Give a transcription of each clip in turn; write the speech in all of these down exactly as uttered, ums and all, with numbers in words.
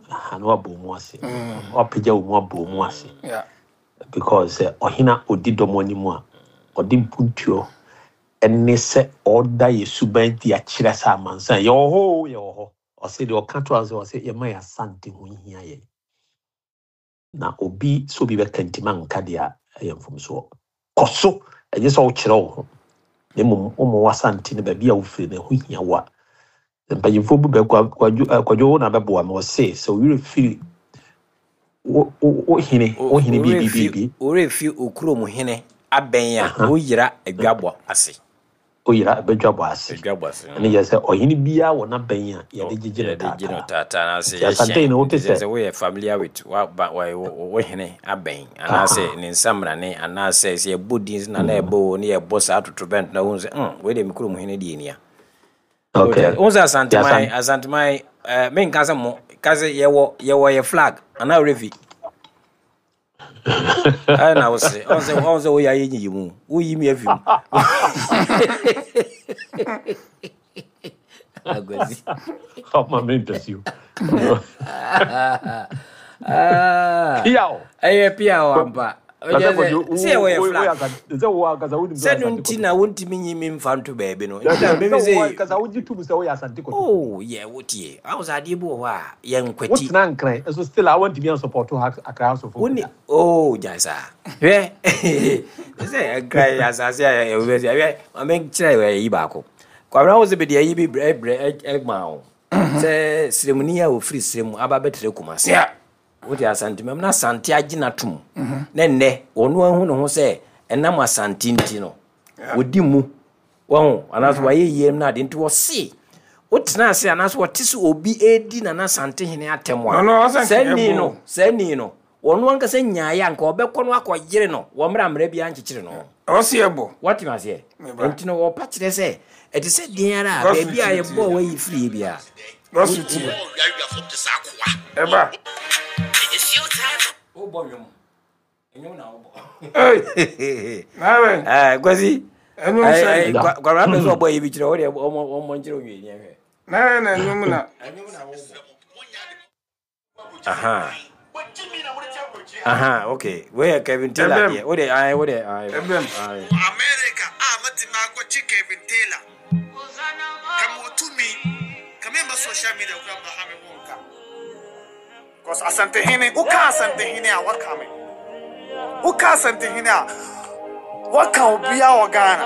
Ha na wabɔ mu ase, wapagya wo mu abɔ mu ase. Yeah. Because sɛ ɔhene a ɔdi dɔm anim a ɔde mpuntuo ɛne sɛ ɔda yɛ suban di akyerɛ sɛ amansan yɛwɔ hɔ o, yɛwɔ hɔ. Ɔsɛ deɛ ɔka to ase, ɔsɛ yɛma yɛ Asante ho hia yɛn na obi sɛ obi bɛka ntima nka deɛ a ɛyɛ mfomsoɔ. Kɔ so, ɛnyɛ sɛ wokyerɛ wo ho, na mmom woma w'Asante no baabi a wofiri no ɛho hia wo a mpanyimfoɔ bi bɛ Kwadwo eh, Kwadwo wo na bɛboa me. Ɔse sɛ wo werɛ firi wo wo wo hene wo hene biribi biribi. Ɔwerɛ fi okurom hene abɛn a, woyera adwabɔ ase. Woyera bɛdwabɔ ase. Adwabɔ ase. Ɛne yɛ sɛ ɔhene biara wɔ n'abɛn a yɛde gyegye no. Yɛde gye no taataa. Taataa anaasɛ Nti Asante no wote yɛhyɛn sɛ sɛ woyɛ familiar with wa ba wa wo wo hene abɛn anaasɛ ne nsamrane anaasɛ sɛ yɛbɔ din na na ɛbɔ wo ne yɛbɔ saa totorobɛnto na wohu sɛ mm wei deɛ me kurom hene deɛ nia. Okay. Wohu sɛ Asanteman Asan- Asanteman eh, menka sɛ mo ka sɛ yɛwɔ yɛwɔ yɛ flag anaa werɛ fi ɛna na wo sere ɔn sɛ ɔn sɛ woyɛ ayɛ nyiyi mu, woyi mi afi mu. Akwasi. Ɔma me ntasuo. Ah, Piaw. Ɛyɛ pia o ampa. Na sɛ Kwadwo, sɛ yɛwɔ yɛ flag. Sɛ wo ankasa wonim sɛ no nti na wontumi nyi me mfa nto baabi no nti na meme sɛ wo sɛ ankasa wogye tom sɛ woyɛ Asante Kɔtɔkɔ. Oh yɛ wotie awo sɛ adeɛ bi wɔ hɔ a yɛnkwati. Wotena Nkran ɛso still a wontumi ansupport Accra House of Woni oh gyae saa, hwɛ sɛ Nkran asase a yɛwɔ sɛ hwɛ ma menkyerɛ wɔ yi baako. Kwabena, wo sɛ bɛde ayi bi brɛ brɛ ɛma wo sɛ sremuni a wɔfiri srem aba bɛtrɛ Kumase. Yeah. Wote Asantemam na Asante agye no atom na nnɛ ɔno ahu ne ho sɛ ɛnam Asante nti no wɔdi mu wɔho anaasɛ wayɛ yie no ade nti wɔse wotena ase anaasɛ wɔte sɛ obi ɛdi Nana Asante hene atɛm No, no, a ɔsɛ saa nka ni ɛbo. No saa ni no wɔno ankasa nyaeɛ a nka ɔbɛkɔ no akɔyere no wɔ mmerɛ a mmerɛ biara nkyekyere no. Ɔsi ɛbɔ. Wɔte aseɛ? Meba. Nti no wɔpa kyerɛ sɛ ɛte sɛ deɛ ara a Gospel baabi a tie, yɛbɔɔ tie. wayi firie biara. Gospel tie. Ɛba. Wobɔ nwom, nwom na wobɔ. Hey. Nawe. Eh, Kwasi. Ɛnwom sɛ. Kwabena pɛ sɛ ɔbɔ yi bi kyerɛ wo deɛ, ɔmɔ ɔmɔ nkyerɛ wo nwie hwɛ. Nawe na ɛnwom na. Ɛnwom na wobɔ. Aha. Aha, okay. Wei yɛ Kevin Taylor Ɛbɛm. deɛ. Wo deɛ, ayi, wo deɛ, ayi. Ɛbɛm. Ayi. America a mɛtumi akɔkye Kevin Taylor kama otumi kama mba social media kora mba ha me ho nka because Asantehene, woka Asantehene a waka me, woka Asantehene a waka obiara wɔ Ghana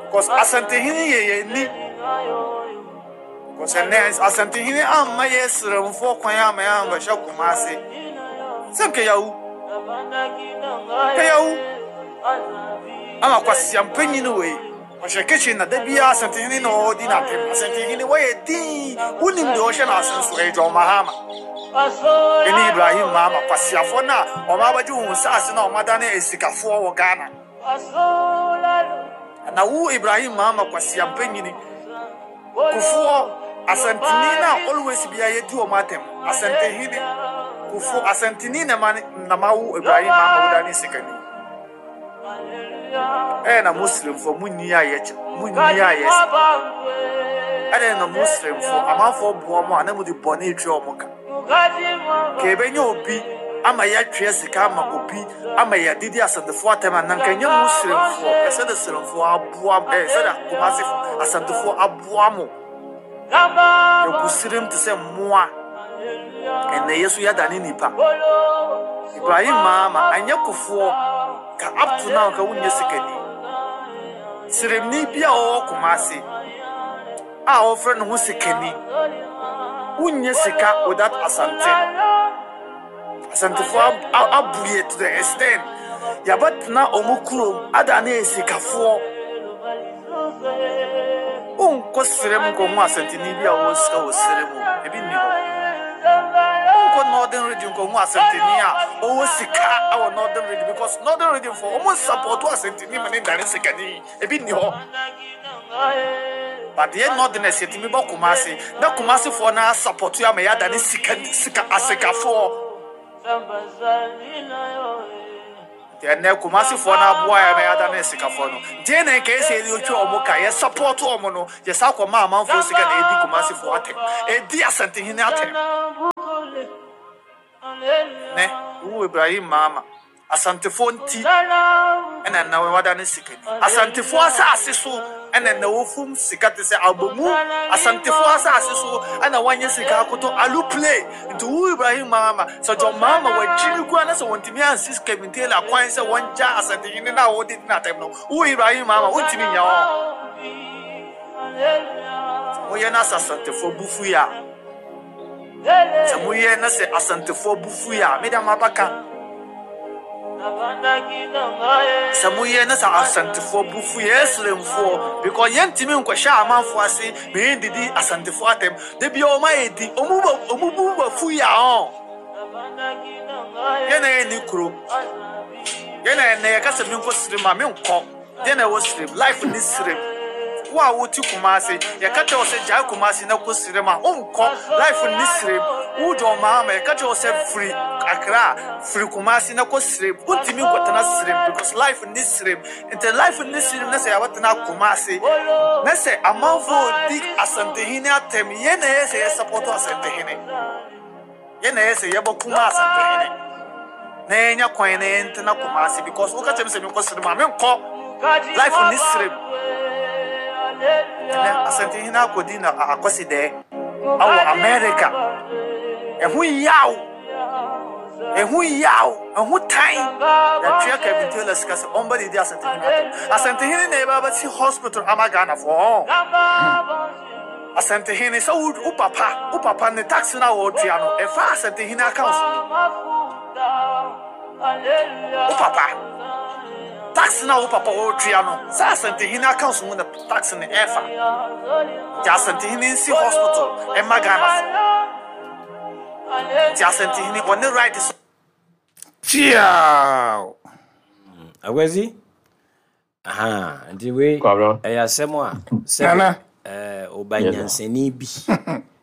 because Asantehene yɛ yɛn ni because ɛnɛ Asantehene amma yɛ srɛmfoɔ kwan ama yɛ ambɛhyɛ Kumase sɛ nkayawu nkayawu ama kwasiampanyin wei ɔhyɛ kitchen na da biara Asantehene na ɔdi n'atem. Asantehene wɔyɛ din, wonim deɛ ɔhyɛ n'ase nso ɛyɛ John Mahama ɛne Ibrahim Mahama, kwasiafoɔ no a ɔma abɛgye wɔn nsaase na ɔma dane asikafoɔ wɔ Ghana. Na wo Ibrahim Mahama, kwasiampanyini Kufuɔ, Asanteni na always bia yɛdi wɔn atɛm. Asantehene Kufuɔ, Asanteni na ma na ma wo Ibrahim Mahama wodane sikani. Ɛyɛ na Muslimfoɔ mu nyi a yɛkyɛ mu nyi a yɛsɛ ɛdɛ na Muslimfoɔ amanfoɔ boa mo a na mo de bɔne etwa wɔn ka ka ebɛnya obi ama yɛatwea sika ama obi ama yɛadidi Asantefoɔ atɛm a na nka nyɛ Muslimfoɔ. Ɛsɛ de Sremfoɔ aboa ɛɛ sɛ de Kumase Asantefoɔ aboa mo. Yɛgu serem te sɛ mmoa. Ɛnɛ yɛ so yɛadane nipa. Ibrahim Mahama anyɛ Kofoɔ ka up to now nka wonyɛ sikani. Seremni bi a ɔwɔ Kumase a ɔfrɛ ne ho sikani, wonyɛ sika without Asante. Asantefoɔ ab- abue to the extent yɛbɛtena ɔmo kurom adane asikafoɔ. Wonkɔ serem nkɔhu Asanteni bi a ɔwɔ sika wɔ serem o, ebi nni hɔ. Wonkɔ Northern Region nkɔhu Asanteni a ɔwɔ sika ɛwɔ Northern Region because Northern Region fo ɔmo support Asanteni ma ne dane sikani, ebi nni hɔ. But yɛ northerners yɛtumi bɔ Kumase na Kumasefoɔ na support ama yɛadane sika sika asikafoɔ. Nti ɛnɛ Kumasefoɔ no aboa yɛ ma yɛadane sikafoɔ no deɛ na nka ɛsɛ yɛde otwa ɔmo ka yɛ support ɔmo no, yɛsa akɔma amanfoɔ sika na ɛdi Kumasefoɔ atɛm, ɛdi Asantehene atɛm. Ne wo Ibrahim Mahama Asantefo nti ɛna na wada ne sika ni. Asantefo asase so ɛna na wofum sika te sɛ abomu. Asantefo asase so ɛna wanyɛ sika akoto alu play. Nti wo Ibrahim Mahama sɛ John Mahama wagyimi kura na sɛ wɔntumi ansi Kevin Taylor kwan sɛ wɔngya Asantehene na wɔde di n'atɛm no, wo Ibrahim Mahama wontumi nya hɔ. Moyɛ na sɛ Asantefo bufu yi a, sɛ moyɛ na sɛ Asantefo bufu yi a, meda mo abaka. Sɛ moyɛ na sɛ Asantefoɔ bufu yɛ Esremfoɔ, because yɛntumi nkɔhyɛ amanfoɔ ase ma yɛndidi Asantefoɔ atɛm. Da bia ɔma yɛ di ɔmu ba ɔmu bu bafu yi a ɔn. Yɛn na yɛnni kuro. Yɛn na yɛn yɛka sɛ menkɔ Sirem a menkɔ. Deɛ na ɛwɔ Sirem, life ni Sirem. Wo a wote Kumase, yɛka kyerɛ wo sɛ gyae Kumase na kɔ Sirem a wonkɔ. Life ni Sirem. Wo John Mahama yɛka kyerɛ wo sɛ firi Accra, firi Kumase na kɔ Sirem. Wontumi nkɔtena Sirem because life ni Sirem. Nti life ni Sirem na sɛ yɛabɛtena Kumase na sɛ amanfoɔ di Asantehene atɛm, yɛn na ɛyɛ sɛ yɛ support Asantehene. Yɛn na ɛyɛ sɛ yɛbɔ kuma Asantehene na yɛnya kwan na yɛntena Kumase, because woka kyerɛ me sɛ menkɔ Sirem a menkɔ. Life ni Sirem. Ɛnɛ Asantehene akɔdi na akɔsi dɛ awɔ America. Ɛho yaw, ɛho yaw, ɛho tan. Yɛatwea Kevin Taylor sika sɛ ɔmba didi Asantehene atɛm. Asantehene na yɛbɛba bɛsi hospital ama Ghanafoɔ. Asantehene sɛ wo wo papa wo papa ne tax no a wɔtua no ɛfa Asantehene account mu. Wo papa tax no a wo papa wɔtua no sɛ Asantehene account mu na tax no ɛfa. Nti Asantehene nsi hospital ɛma Ghanafoɔ. Nti Asantehene ɔne right so. Tiaw. Akwasi, aha, nti wei Kwabena. ɛyɛ asɛm a sɛ Nana. ɛɛ ɔba nyansani bi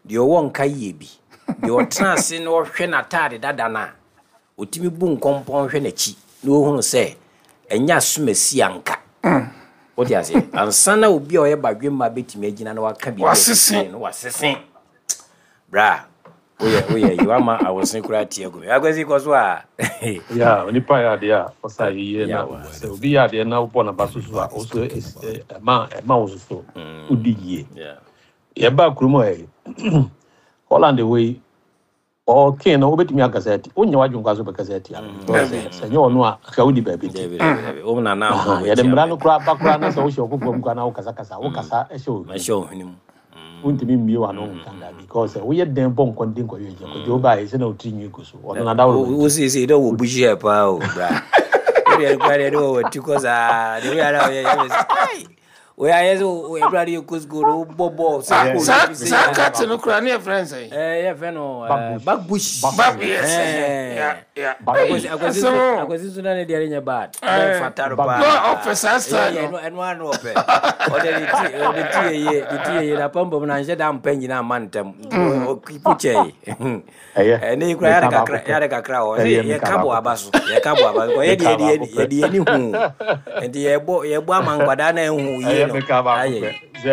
deɛ ɔwɔ nka yie bi deɛ ɔtena ase na ɔhwɛ n'ataade dada no a ɔtumi bu nkɔmpɔn hwɛ n'akyi na ɔhunu sɛ ɛnyɛ asomasi anka wote aseɛ ansa na obi a ɔyɛ badwemma bɛtumi agyina na waka biribi a Wasese. ɛtumi no wasese bra woyɛ woyɛ yi wama awose koraa tie agu me. Akwasi, kɔ so a. Ya onipa yɛ adeɛ a ɔsa yie na Yawa. sɛ obi yɛ adeɛ na wobɔ n'aba so so a ɔso ɛma ɛma wo so wodi yie. Yeah. Yɛba kurom ha yi, Holland wei ɔkee no wobɛtumi akasa ati wonyɛ w'adwene kwa so bɛkasa atia no because sɛ sɛ nyɛ ɔno a aka wodi baabi ti. Dabi, dabi, dabi. Wo na na Aha, yɛde mmara no koraa ba koraa na sɛ wohyɛ ɔfoforɔ mu koraa na wokasakasa wokasa ɛhyɛ wo mahyɛ wo hwene mu. Wontumi mmie w'ano nka da because sɛ woyɛ dɛn bɔ nkɔnden kɔyɛ agya kɔgye wobaeɛ sɛ na wotiri nwi gu so ɔno nadaworo. Wo siesie dɛ wɔ bushi hair paa o bra. Wode kora deɛ ne wɔ wati kɔ saa de woyɛ na woyɛ yɛ sɛ ai woyɛ ayɛ sɛ ɛbra de yɛkɔ school no wobɔ bɔɔl sɛ kɔ Saa bi sɛ saa cut no kura ne yɛ friend sɛn? Eh, yɛfrɛ no eh, Back bush. Back bush. Back, yes. Eh. Yeah, yeah. Akwasi akwasi Asɛm nso o. Akwasi nso na ne deɛ nyɛ bad. Eh. Na ɛfata no Back paa. No, ɔpɛ saa style Yeah, no. yeah, ɛno ɛno ano ɔpɛ. Ɔde ne ti ɔde ti yɛ yie ne ti yɛ yie na pampam na nhyɛ da mpɛ nyina ama ntɛm nti ɔkipu kyɛe. Ɛyɛ Ɛne kura yɛde meka kakra baako pɛ. yɛde kakra hɔ sɛ Ɛyɛ meka yɛka bɔ baako aba pɛ. So yɛka bɔ aba so kɔ yɛde Meka yɛde baako pɛ. yɛde yɛni hu nti yɛbɔ yɛbɔ ama nkwadaa na ɛhu yie Ɛyɛ no meka baako ayɛ. Pɛ sɛ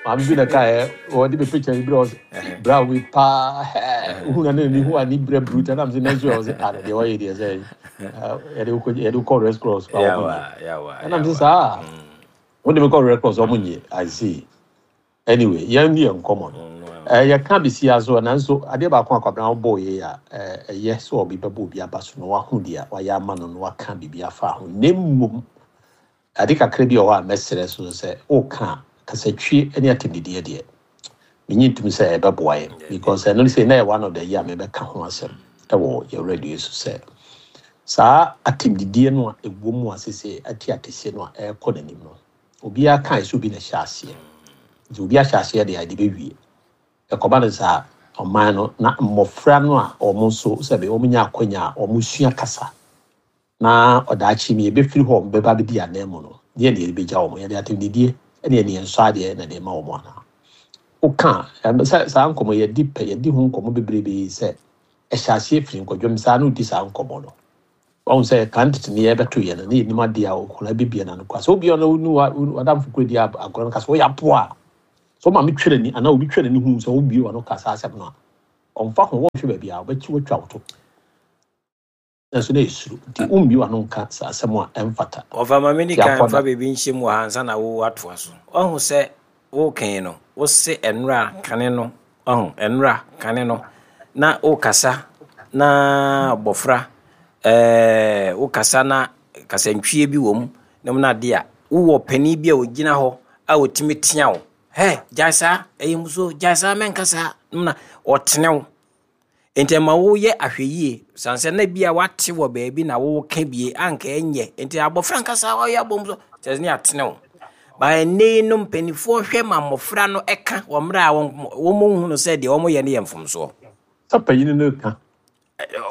maame bi na kaeɛ ɔde me picture bi brɛ ɔsɛ bra wei paa wohu na ne ne hu ani brɛ bruta nam sɛ nanso ɔsɛ ana deɛ wɔyɛ deɛ sɛ yɛde wokɔ yɛde wokɔ Red Cross kɔ a wɔn Yawa nye yawa. ɛnam sɛ Yawa. saa wode me kɔ Red Cross ɔmo nye. I see. Anyway, yɛn ni yɛn nkɔmmɔ no ɛɛ yɛka besia so nanso adeɛ baako a Kwabena wobɔɔ yɛ a ɛɛ ɛyɛ sɛ ɔbi bɛbɔ obi aba so na waho deɛ wayɛ ama no na waka biribi afa ho, na mmom ade kakra bi wɔ hɔ a mɛsrɛ so sɛ woka a kasatwie ne atɛmdidiɛ deɛ menye ntom sɛ ɛbɛboa yɛn, because ɛno sɛ na yɛ one of the yi a mebɛka ho asɛm ɛwɔ yɛ radio so sɛ saa atɛmdidie no a ɛwɔ mu a sese ate atɛseɛ no a ɛrekɔ n'anim no, obiara kae sɛ obi na ɛhyɛ aseɛ nti obi ahyɛ aseɛ deɛ ade bɛwie ɛkɔba no saa ɔman no na mmɔfra no a wɔn nso sɛbe wɔn nya akɔnya a wɔn sua kasa na ɔdaakye mi yɛbɛfiri hɔ wɔn bɛba bɛdi anan mu no deɛ deɛ yɛbɛgya wɔn yɛde atɛmdidie ɛne yɛde yɛn nsɔ adeɛ na de ma wɔn anaa woka ɛm, sɛ saa nkɔmmɔ yɛdi pɛ yɛdi ho nkɔmmɔ bebrebe sɛ ɛhyɛ aseɛ firi nkɔdwam saa na odi saa nkɔmmɔ no wɔn sɛ kan tete ne yɛbɛto yɛn no ne yɛnim adeɛ a okura bibia na no kora sɛ obi a ɔno nu wa wadamfo kura di agorɔ no ka sɛ wɔyɛ aboa a sɛ ɔmaame twɛ n'ani anaa obi twɛ n'ani hu sɛ obie ɔno ka saa asɛm no a ɔmfa ho wɔnhwɛ baabi a ɔbɛkyi wɔatwa wo to. Nanso na ɛsuro nti wombi w'ano nka saa asɛm a ɛmfata. Ɔfa ma me Nti kan akɔda fa biribi nhyɛ mu wɔ ha ansa na wo atoa so. Ɔhu sɛ wokan no, wose ɛnora kane no, ɔhu ɛnora kane no na wokasa na bɔfra ɛɛ wokasa na kasantwie bi wɔ mu na mu no ade a wowɔ panin bi a ogyina hɔ a otumi tea wo, hɛ, gyae saa, ɛyɛ musuo, gyae saa, mɛnka saa na ɔtene wo. Nti ɛma woyɛ ahwɛyie san sɛ na bi a wate wɔ baabi na woka bie anka ɛnyɛ. Nti abɔfra nkasa, ɔyɛ abɔ mu so kyerɛ sɛ ne atene wo ba. Ɛnɛ yi no, mpanimfoɔ hwɛ ma mmɔfra no ɛka wɔ mmerɛ a wɔn wɔn hunu sɛ deɛ wɔn yɛ no yɛ mfomsoɔ. Sɛ panyin no ka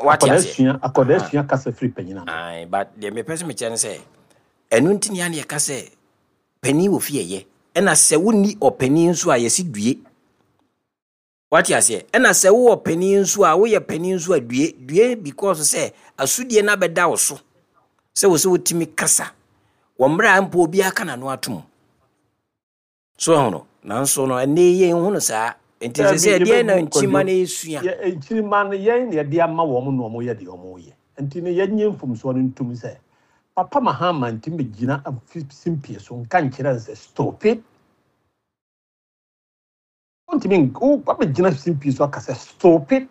Wate akɔda aseɛ? Asua akɔda asua kasa firi panyin ano. Ae, but deɛ mepɛ sɛ mekyerɛ no sɛ ɛno nti ne a ne yɛka sɛ panin wɔ fie yɛ, ɛna sɛ wonni ɔpanin nso a yɛsi due. Wate aseɛ? Ɛna sɛ wowɔ panin nso a, woyɛ panin nso a, due due, because sɛ asodie no abɛda wo so sɛ wo sɛ wotumi kasa wɔ mmerɛ a mpo obiara ka n'ano atom so ɛho no. Nanso no, ɛnɛ yi yɛnhu no saa. Nti sɛ sɛ ɛdeɛn na nkyima no yɛsua? Yɛ nkyirima no, yɛn na yɛde ama wɔn na wɔn yɛ deɛ wɔn yɛ. Nti no, yɛnyɛ mfomsoɔ no ntum sɛ Papa Mahama ntumi gyina simpie so nka nkyerɛ no sɛ stop it. Ntumi wabɛgyina simpie so aka sɛ stop it.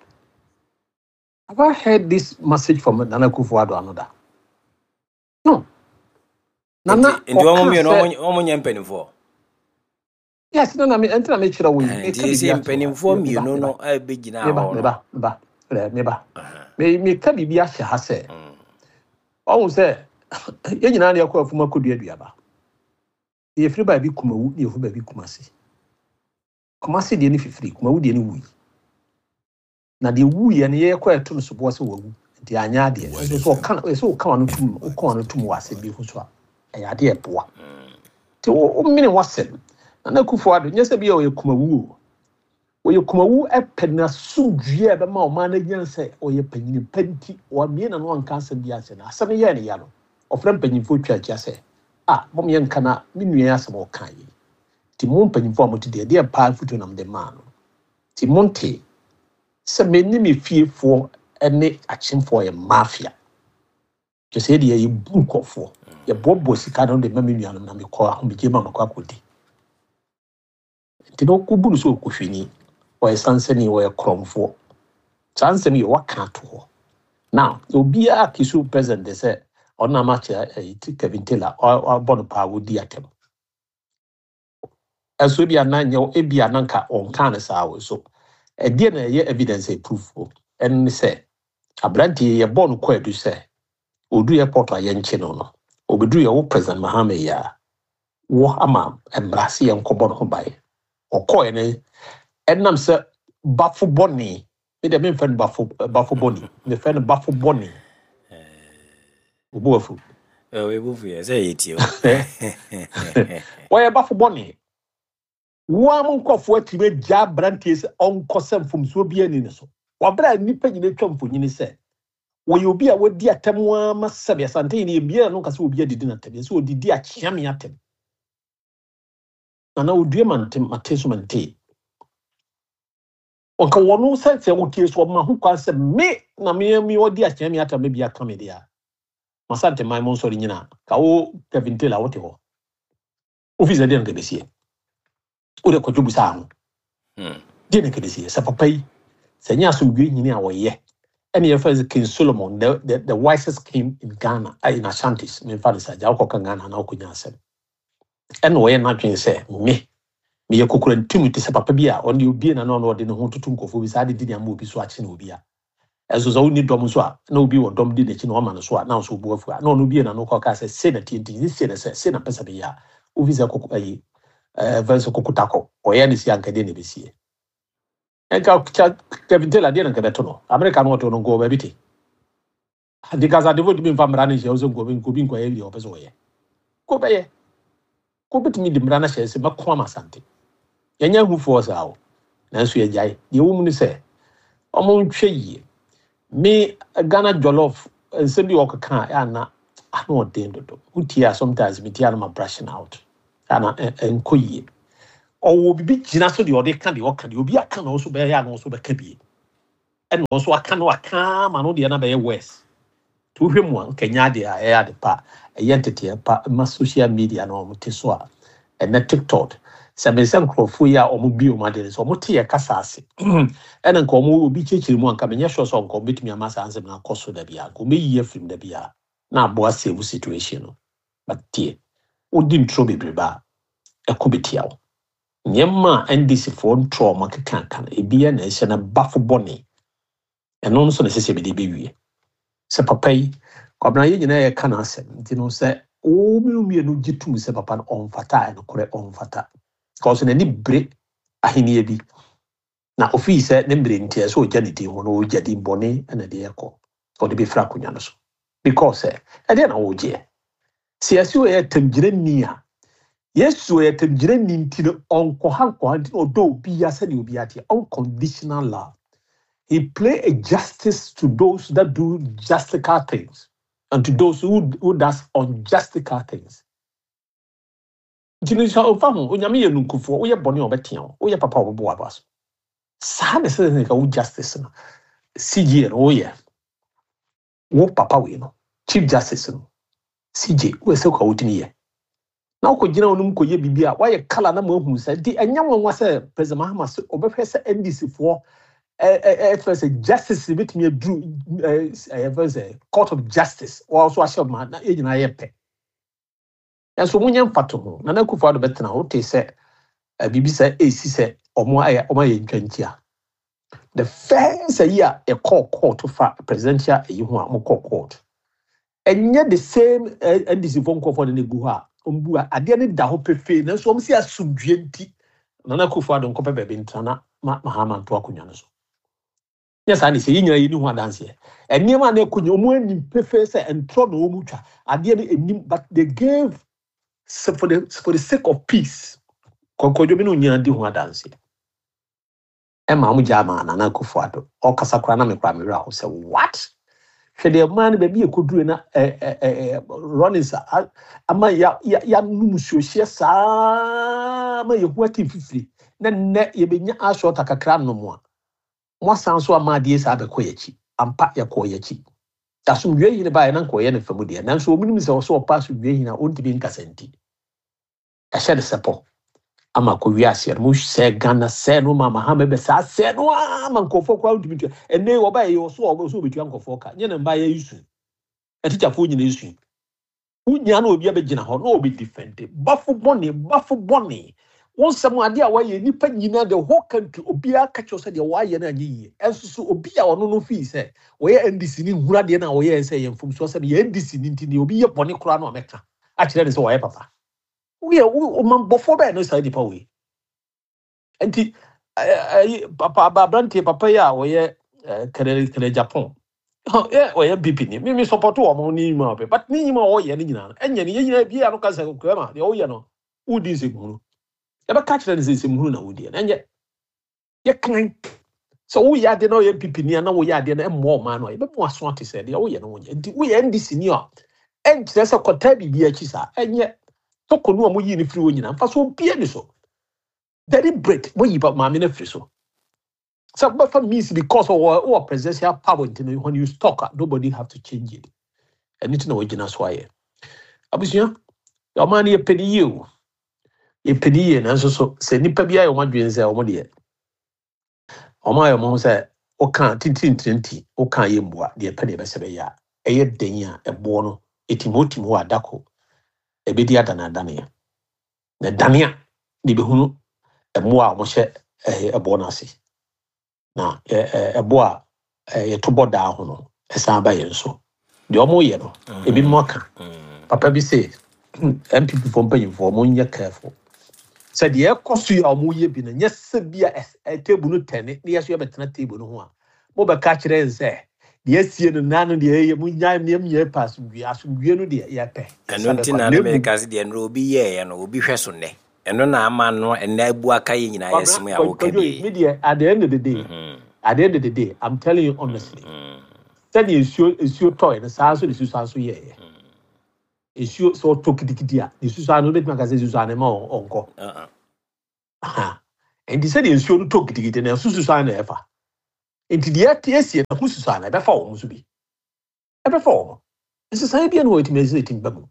Have I heard this message from Nana Akufo-Addo ano da? No, Nana. Nti wɔn Ɔka mmienu sɛ wɔn nyɛ mpanimfoɔ? Yes, nana mi ɛnti na mi kyerɛ wo yi. Nti sɛ mpanimfoɔ mmienu no ɛbɛgyina meba hɔ no. Meba, meba, meba, meba. Me meka biribi ahyɛ ha sɛ ɔhu sɛ yɛn nyinaa ne yɛkɔ afum akɔdua aduaba. Yɛfiri baabi Kumawu ne yɛfiri baabi Kumase. Kumase deɛ no fifiri, Kumawu deɛ no wui. Na deɛ wuyɛ no, yɛkɔ ɛto no soboɔ sɛ wawu nti anyɛ adeɛ. Nso so ɔka ɛsɛ ɔka wano tum, ɔka wano tum wɔ asɛm bi ho so a, ɛyɛ adeɛ ɛboa. Nti wo womene wasɛm. Nana Akufo-Addo nyɛ sɛ bi a ɔyɛ Kumawu o. Ɔyɛ Kumawu, ɛpɛ n'asomdwie a ɛbɛma ɔman no anya sɛ ɔyɛ panyini pa nti wamie n'ano anka asɛm bi akyerɛ no. Asɛm no yɛɛ ne ya no, ɔfrɛ mpanyimfoɔ twa akyia sɛ a mom yɛnka na me nua yi asɛm a ɔka yi. Nti mo mpanyimfoɔ a mote deɛ, deɛ paa mfotuo na mede maa no. Nti monte sɛ me ne me fiefoɔ ne akyemfoɔ yɛ mafia. Kyerɛ sɛ yɛde yɛbu nkɔfoɔ. Yɛboaboa sika no de ma me nuanom na mekɔ ahomegye ma makɔ akɔdi. Nti na ɔkɔbu no sɛ ɔkɔhwini, ɔyɛ sansani, ɔyɛ korɔmfoɔ. Saa nsɛm yi waka ato hɔ. Now, obiara accuse president de sɛ ɔno ama kyerɛ ɛyi Kevin Taylor ɔbɔ no paa, wɔdi atɛm. Ɛso ebi anan nyɛ, ebi anan ka ɔnka ne saa wɔ so. Ɛdeɛ na ɛyɛ evidence a proof o. Ɛno ne sɛ aberanteɛ yi yɛbɔ no kɔ adu sɛ odu airport a yɛnkye no no. Obeduru yɛ wo President Mahama yi a wɔ ama mmara sɛ yɛnkɔbɔ no ho ban. Ɔkɔɛ no, ɛnam sɛ bafo bɔne, me deɛ memfɛ no bafo bafo bɔne, mefɛ no bafo bɔne. Obu afu. Ɛbufu yɛ sɛ yɛtie o. Wɔyɛ bafo bɔne. Wɔn a mo nkurɔfoɔ atumi agya aberanteɛ sɛ ɔnkɔ sɛ mfomsoɔ bi ani ne so. Wɔabrɛ a nnipa nyinaa atwa mfonyini sɛ wɔyɛ obi a wadi atɛm ama sɛbe Asante yi ne ebiara no nka sɛ obi adidi n'atɛm, yɛ sɛ odidi akyeame atɛm. Nana odue ma ntem mate so mante. Ɔnka wɔn sɛ sɛ wotie so ɔma ho kwan sɛ me na me me ɔdi akyeame atɛm bi aka me deɛ a. Masante man mo nsɔre nyinaa. Ka wo Kevin Taylor wote hɔ. Ofi sɛ deɛ nka bɛsie. Wode kɔdwo busa ho. Hmm. Deɛ na nka bɛsie sɛ papa yi sɛ nyɛ asomdwe nyini a wɔyɛ, ɛne yɛfrɛ sɛ King Solomon, the, the, the wisest king in Ghana, uh, in Ashantis. Memfa no sɛ agya wokɔka Ghana na wokɔnya asɛm. Ɛna ɔyɛ n'adwene sɛ me meyɛ kokora ntum te sɛ papa bi a ɔne obie na na ɔno ɔde ne ho toto nkɔfoɔ bi saa de di ne ama obi so akye na obi a ɛnso sɛ wonni dɔm nso a na obi wɔ dɔm di n'akyi na ɔma no so a na nso obu afu a na ɔno bie na no kɔka sɛ sei na tie nti sei na sɛ sei na pɛ sɛ meyɛ a wofi sɛ koko ayi ɛɛ fɛn sɛ kokotakɔ ɔyɛ ne si anka deɛ na ɛbɛsie ɛnka Kevin Taylor deɛ na nka bɛto no Amerika no, ɔto no nkɔ baabi te ade kasa de fo tumi nfa mmara no nhyɛ wo sɛ nkɔ nkɔ bi nkɔyɛ deɛ ɔpɛ sɛ ɔyɛ kɔ bɛyɛ kɔ bɛtumi de mmara no hyɛ sɛ mɛko ama Asante. Yɛnyɛ ahufoɔ saa o, nanso yɛgyae. Deɛ ɛwɔ mu ne sɛ ɔmo nhwɛ yie. Me Ghana Jollof nsɛm bi a ɔkeka a ana ano ɔden dodo. Wotie a, sometimes metie a no ma brushing out ana ɛnkɔ yie. Ɔwɔ biribi gyina so deɛ ɔde ka deɛ ɔka deɛ obi aka na ɔso bɛyɛ a na ɔso bɛka bie, ɛna ɔso aka no aka ama no deɛ na bɛyɛ worse. Nti wohwɛ mu a, nkɛnyɛ adeɛ a ɛyɛ ade pa, ɛyɛ nteteɛ pa ma social media na wɔn te so a ɛnɛ TikTok sɛ me sɛ nkurɔfoɔ yi a wɔn bi wɔn ade no sɛ wɔn te yɛ kasa ase, ɛna nka wɔn obi kyerɛkyerɛ mu a, nka menyɛ sure sɛ nka wɔn bɛtumi ama saa nsɛm no akɔ so da bi a, nka wɔn bɛyi afiri mu da bi a na aboa save situation no. But tie, wodi ntoro bebrebe a, ɛkɔ bɛtia wo. Nneɛma a N D C foɔ ntoro a wɔn akeka aka no, ebi yɛ na ɛhyɛ no bafo bɔne. Ɛno nso na ɛsɛ sɛ yɛde bɛwie sɛ papa yi, Kwabena, yɛn nyinaa yɛka n'asɛm. Nti no, sɛ wɔn mmienu mmienu gye tum sɛ papa no ɔmfata a, ɛnokorɛ ɔmfata, because n'ani bere ahenni bi na ofii sɛ ne mmere nti ɛsɛ ɔgya ne din ho na ɔgya din bɔne ɛna de ɛkɔ ɔde bɛfiri akonnwa no so, because sɛ ɛdeɛ na wɔgyeɛ sɛ yɛsi ɔyɛ tamgyinani a, Yesu ɔyɛ tamgyinani, nti no ɔnkɔha nkɔha, nti na ɔdɔ obiara sɛdeɛ obiara teɛ, unconditional love. He play a justice to those that do justical things and to those who, who does unjustical things. Nti no sɛ ɔmfa ho, Onyame yɛ nunkufoɔ. Woyɛ bɔne a, ɔbɛtea wo. Woyɛ papa a, ɔbɛbɔ w'aba so. Saa na ɛsɛ sɛ nka wo justice no, C J no, woyɛ wo papa wei no, Chief Justice no, C J, woyɛ sɛ ka wotumi yɛ na wokɔgyina wo nom kɔyɛ biribi a woayɛ kala na mahu sɛ nti ɛnyɛ nwanwa sɛ President Mahama sɛ ɔbɛhwɛ sɛ N D C foɔ ɛfɛ sɛ justice bɛtumi aduru ɛfɛ sɛ Court of Justice wɔn nso ahyɛ ma na yɛn nyinaa yɛ pɛ. Ɛnso monyɛ mfato ho. Nana Akufo Addo bɛtena hɔ, wote sɛ ɛ, biribi sɛ esi sɛ ɔmo ayɛ ɔmo ayɛ ntwantia. The first ayi a ɛkɔɔ court fa presidential ayi ho a ɔmo kɔɔ court, ɛnyɛ the same ɛ, N D C fo nkɔfoɔ de ne gu hɔ a ɔmo bu a adeɛ no da hɔ pefee, nanso ɔmo si asomdue nti Nana Akufo Addo nkɔpɛ baabi ntena na ma Mahama nto akonnwa no so. Nyɛ saa ne sɛ yɛn nyinaa yɛni ho adanseɛ. Nneɛma a na ɛkɔ nyɛ ɔmo anim pefee sɛ ntorɔ na ɔmo twa adeɛ no anim, but they gave so for the for the sake of peace. Kɔkɔdwo bi ne onyina di ho adanseɛ ɛma ɔmo gya ama Nana Akufo Addo ɔkasa koraa na me koraa me werɛ aho sɛ what. Hwɛ deɛ mmaa no baabi ɛkɔduru na ɛ ɛ ɛ Rawlings a- ama ya ya yɛanom nsuohyɛ saa ma yɛho ate mfifiri, na nnɛ yɛbɛnya asɔɔta kakra nom a, mo asan so ama adeɛ saa bɛkɔ yɛn akyi. Ampa, yɛkɔɔ yɛn akyi. Asomdwe hene baeɛ na nkɔyɛ ne fam deɛ, nanso wɔn nim sɛ ɔsɛ ɔpa asomdwe hene a ɔntumi nkasa, nti ɛhyɛ ne sɛpɔ ama kɔ wiase no mo sɛ Ghana sɛ no ma Mahama bɛ saa sɛ no ama nkɔfoɔ koraa ntumi tua. Ɛnɛ wɔba yɛ ɔso ɔso ɔbɛtua nkɔfoɔ ka nyɛ ne mba yɛ isu atikyafoɔ nyina isu wonya na obi abɛgyina hɔ na obi defend bafo bɔne, bafo bɔne. Wɔn nsɛm adeɛ a wɔayɛ nipa nyinaa, the whole country, obiara ka kyerɛ sɛ deɛ wɔayɛ no anyɛ yie. Ɛnso so obi a ɔno no fii sɛ wɔyɛ N D C ne nhura deɛ no a wɔyɛ sɛ yɛ mfomsoɔ sɛ yɛ N D C ne, nti deɛ obi yɛ bɔne koraa no a, mɛka akyerɛ ne sɛ wɔyɛ papa. Woyɛ wo ɔmanbɔfoɔ bɛyɛ no saa nipa wei. Nti ɛɛ papa aberanteɛ papa yi a wɔyɛ ɛɛ kɛnɛ kɛnɛ Japan yɛ ɔyɛ N P P ni, mi mi support wɔn ne nyima ɔpɛ, but ne nyima a ɔyɛ no nyinaa no ɛnyɛ ne yɛn nyinaa bi a no ka sɛ kɛmɛ deɛ ɔyɛ no wodi nsɛmhunu, yɛbɛka kyerɛ no sɛ nsɛmhunu na wodi no. Ɛnyɛ yɛkan sɛ woyɛ adeɛ na ɔyɛ N P P ni a na woyɛ adeɛ no ɛmmoa ɔman no a, yɛbɛmu aso ate sɛ deɛ woyɛ no wonyɛ. Nti woyɛ N D C ni a, ɛnkyerɛ sɛ kɔtaa biribi akyi saa. Ɛnyɛ toko no a moyii no firi hɔ nyinaa mfa so obia ni so. Deliberate moyi pa maame no afiri so sɛ wobɛfa means because ɔwɔ ɔwɔ presidential power. Nti no, when you talk a, nobody have to change it. Ɛno nti na wɔgyina so ayɛ. Abusua, ɔman no yɛpɛ ne yie o, yɛpɛ ne yie, nanso so sɛ nnipa bi ayɛ wɔn adwene sɛ wɔn deɛ wɔn ayɛ wɔn ho sɛ woka tintintinti woka yɛ mmua deɛ ɛpɛ deɛ ɛbɛsɛ bɛyɛ a, ɛyɛ den a ɛboɔ no ɛtim hɔ tim hɔ adako ɛbɛdi adanadaneɛ na dane a de bɛhunu mmoa a wɔhyɛ ɛɛ ɛboɔ no ase na ɛ ɛ ɛboɔ a ɛɛ yɛto bɔ daa ho no ɛsan ba yɛn so. Deɛ wɔyɛ no, ebi mo aka papa bi sɛ N P P foɔ mpanyinfoɔ, wɔn nyɛ careful sɛ deɛ ɛkɔ so yi a wɔyɛ bi no nyɛ sɛ bi a ɛs- ɛ table no tɛne ne yɛ so yɛbɛtena table no ho a, mobɛka kyerɛ yɛn sɛ deɛ asie no nan no deɛ ɛyɛ mo nyae nneɛma nyɛ pɛ asomdwie. Asomdwie no deɛ yɛpɛ Ɛno yɛsa nti bɛkɔ na na na mmom meka sɛ deɛ nnora obi yɛɛyɛ no, obi hwɛ so nnɛ, ɛno na ama no ɛnnɛ abu aka yɛ nyinaa Kwabena yɛsɛm a woka Kwadwo yi bi. Me deɛ, at the end of the day at the end of the day, I'm telling you honestly, sɛdeɛ nsuo nsuo tɔɔ no saa nso de susu so yɛɛyɛ nsuo sɛ ɔtɔ kitikiti a, ne susu ano wobɛtumi aka sɛ susu ano ma ɔ- ɔnkɔ Uh-uh. Aha. Nti sɛdeɛ nsuo no tɔ kitikiti no, ɛso susu ano na ɛfa. Nti deɛ ɛte asie no ho susu ano ɛbɛfa wɔn nso bi, ɛbɛfa wɔn. Nsesan bi na wɔtumi ɛsɛ ɛtumi ba mu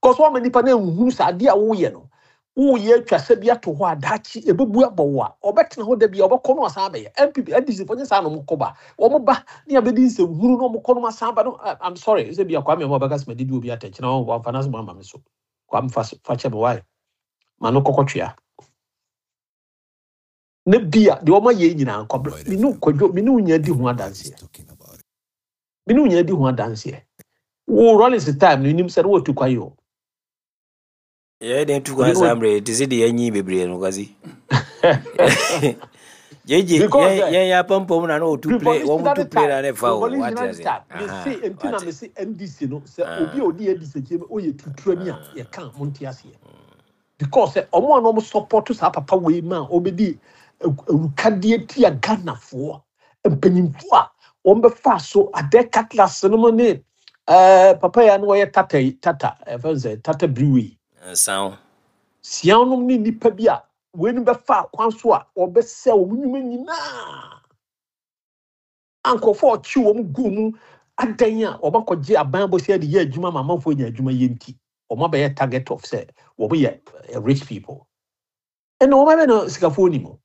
because wɔn ama nipa na ehunu sɛ adeɛ a wɔyɛ no, wɔyɛ atwa sɛ bi ato hɔ a daakye ebebu abɔ wɔ a ɔbɛtena hɔ da bi a ɔbɛkɔ no asan abɛyɛ N P P N D C fo nye saa na wɔn kɔ ba, wɔn ba ne abɛdi nsɛmhunu na wɔn kɔ no asan ba no. I- i'm sorry sɛ bi akwame ɔmo ɔbɛka sɛ mɛ didi obi atɛnkyɛn na wɔn wɔn afa n'asɛm ama mi so. Kwame, fa fa kyɛ mi wae ma no kɔkɔ twea ne bia deɛ wɔn ayɛ nyinaa nkɔbra mi nu Kwadwo, mi nu nya di ho adanseɛ, mi nu nya di ho adanseɛ. Wo Rawlings time no nim sɛ ne wɔtu kwan yi o. Yɛyɛ den tu kwan saa mmerɛ te sɛ deɛ yɛnyi bebree no, Kwasi gyegye. Because yɛn eh, yɛn yɛ apampam na na ɔtu plane, wɔn mu revolutionary tu plane na time ne fa o, wate revolutionary ase. time me Aha, se nti na wate. me se N D C no sɛ obi a odi N D C akyi no oyɛ tuturani a yɛka mo nte aseɛ because sɛ ɔmo a na ɔmo support saa papa wei ma a ɔbɛdi awukadeɛ tia Ghanafoɔ mpanyinfoɔ a wɔn bɛfa so adɛ cutlass no mu ne ɛɛ papa yi a na wɔyɛ Tata yi, Tata ɛfɛn sɛ Tata Brewery. Nsan. Sia nom ne nipa bi a wei no bɛfa kwan so a wɔbɛsɛ wɔn nnwuma nyinaa a nkurɔfoɔ a ɔkye wɔn gu mu adan a wɔbɛkɔgye aban bɔhyɛ de yɛ adwuma ma amanfoɔ nya adwuma yɛ nti wɔn abɛyɛ target of sɛ wɔn yɛ eh, rich people. Ɛna wɔn abɛyɛ no sikafoɔ nim o,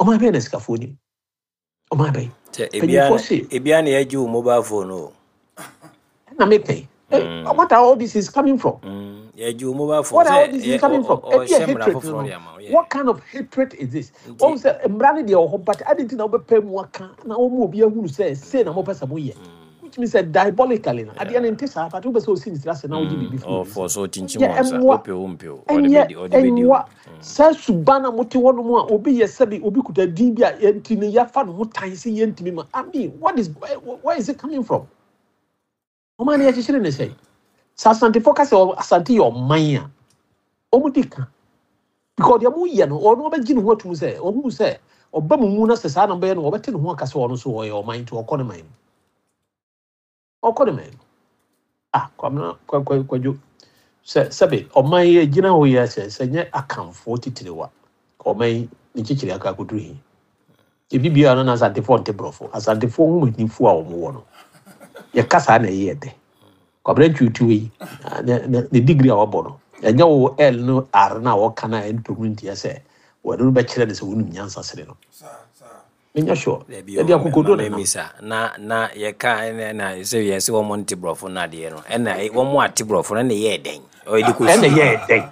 wɔn abɛyɛ no sikafoɔ nim, wɔn abɛyɛ Sɛ ebia mpanyinfoɔ se ebia na yɛgye wo mobile phone o. Ɛna mepɛ eh, Mm, what are all this is coming from? mm, yɛgye wo mobile phone What are all sɛ this is yɛ coming from? Ebi a ɔhyɛ mmara hatred no foforɔ no de ama wo yɛ. What kind of hatred is this? Nti Wɔn sɛ mmara no deɛ wɔ hɔ, but adi nti na wɔbɛpɛ mu aka na wɔn mu obi ahunu sɛ sei na wɔpɛ sɛ wɔyɛ, which means sɛ diabolically no adeɛ no nte saa, but wopɛ sɛ osi ne tiri ase na wogye biribi firi obi ɔfɔ nsam. so kyinkyim Ɛnyɛ wɔn nsa. ɛmmoa. Wopɛ wo mpɛ o, ɔde Ɛnyɛ bɛdi, ɔde bɛdi wo. ɛnwa saa suban na mote hɔ nom a obi yɛ sɛbi obi kuta din bi a yɛnti no yɛafa ne ho tan sɛ yɛntumi ma. I mean, what is where, where is it coming from? Ɔman no yɛkyekyere ne sɛ sɛ Asantefoɔ ka sɛ ɔ- Asante yɛ ɔman a ɔmo di ka because deɛ moyɛ no, ɔno ɔbɛgye ne ho atum sɛ ɔhu sɛ ɔba mu mu na sɛ saa na ɔbɛyɛ no, ɔbɛte ne ho aka sɛ ɔno nso ɔyɛ ɔman nti ɔkɔ ne man mu, ɔkɔ ne man mu. Ah, Kwamina Kwadwo, sɛ sɛbe ɔman yi gyina hɔ yi a, sɛ sɛ nyɛ Akamfoɔ titire wa ɔman yi ne kyekyere aka akɔduru hi ebi biara no na Asantefoɔ nte borɔfo. Asantefoɔ nhomanimfoɔ a wɔn wɔ no, yɛka saa na ɛyɛ dɛ. Kwabena Ntwiwtiw yi ah, ne ne ne degree a wabɔ no, ɛnyɛ wo L no R no a wɔka no a ɛntɔ mu ntiɛ sɛ wɔde no bɛkyerɛ no sɛ wonim nyansa sere no. Saa saa. Menyɛ sure. Dabi yɛde o, akokodo ma nenam. memisa na na yɛka ɛna na sɛ yɛ sɛ wɔn nte borɔfo no adeɛ no, ɛna ɛ- wɔn ate borɔfo no ɛna yɛɛ dɛn ɔyɛ de Ɛna kɔsi yɛɛ dɛn?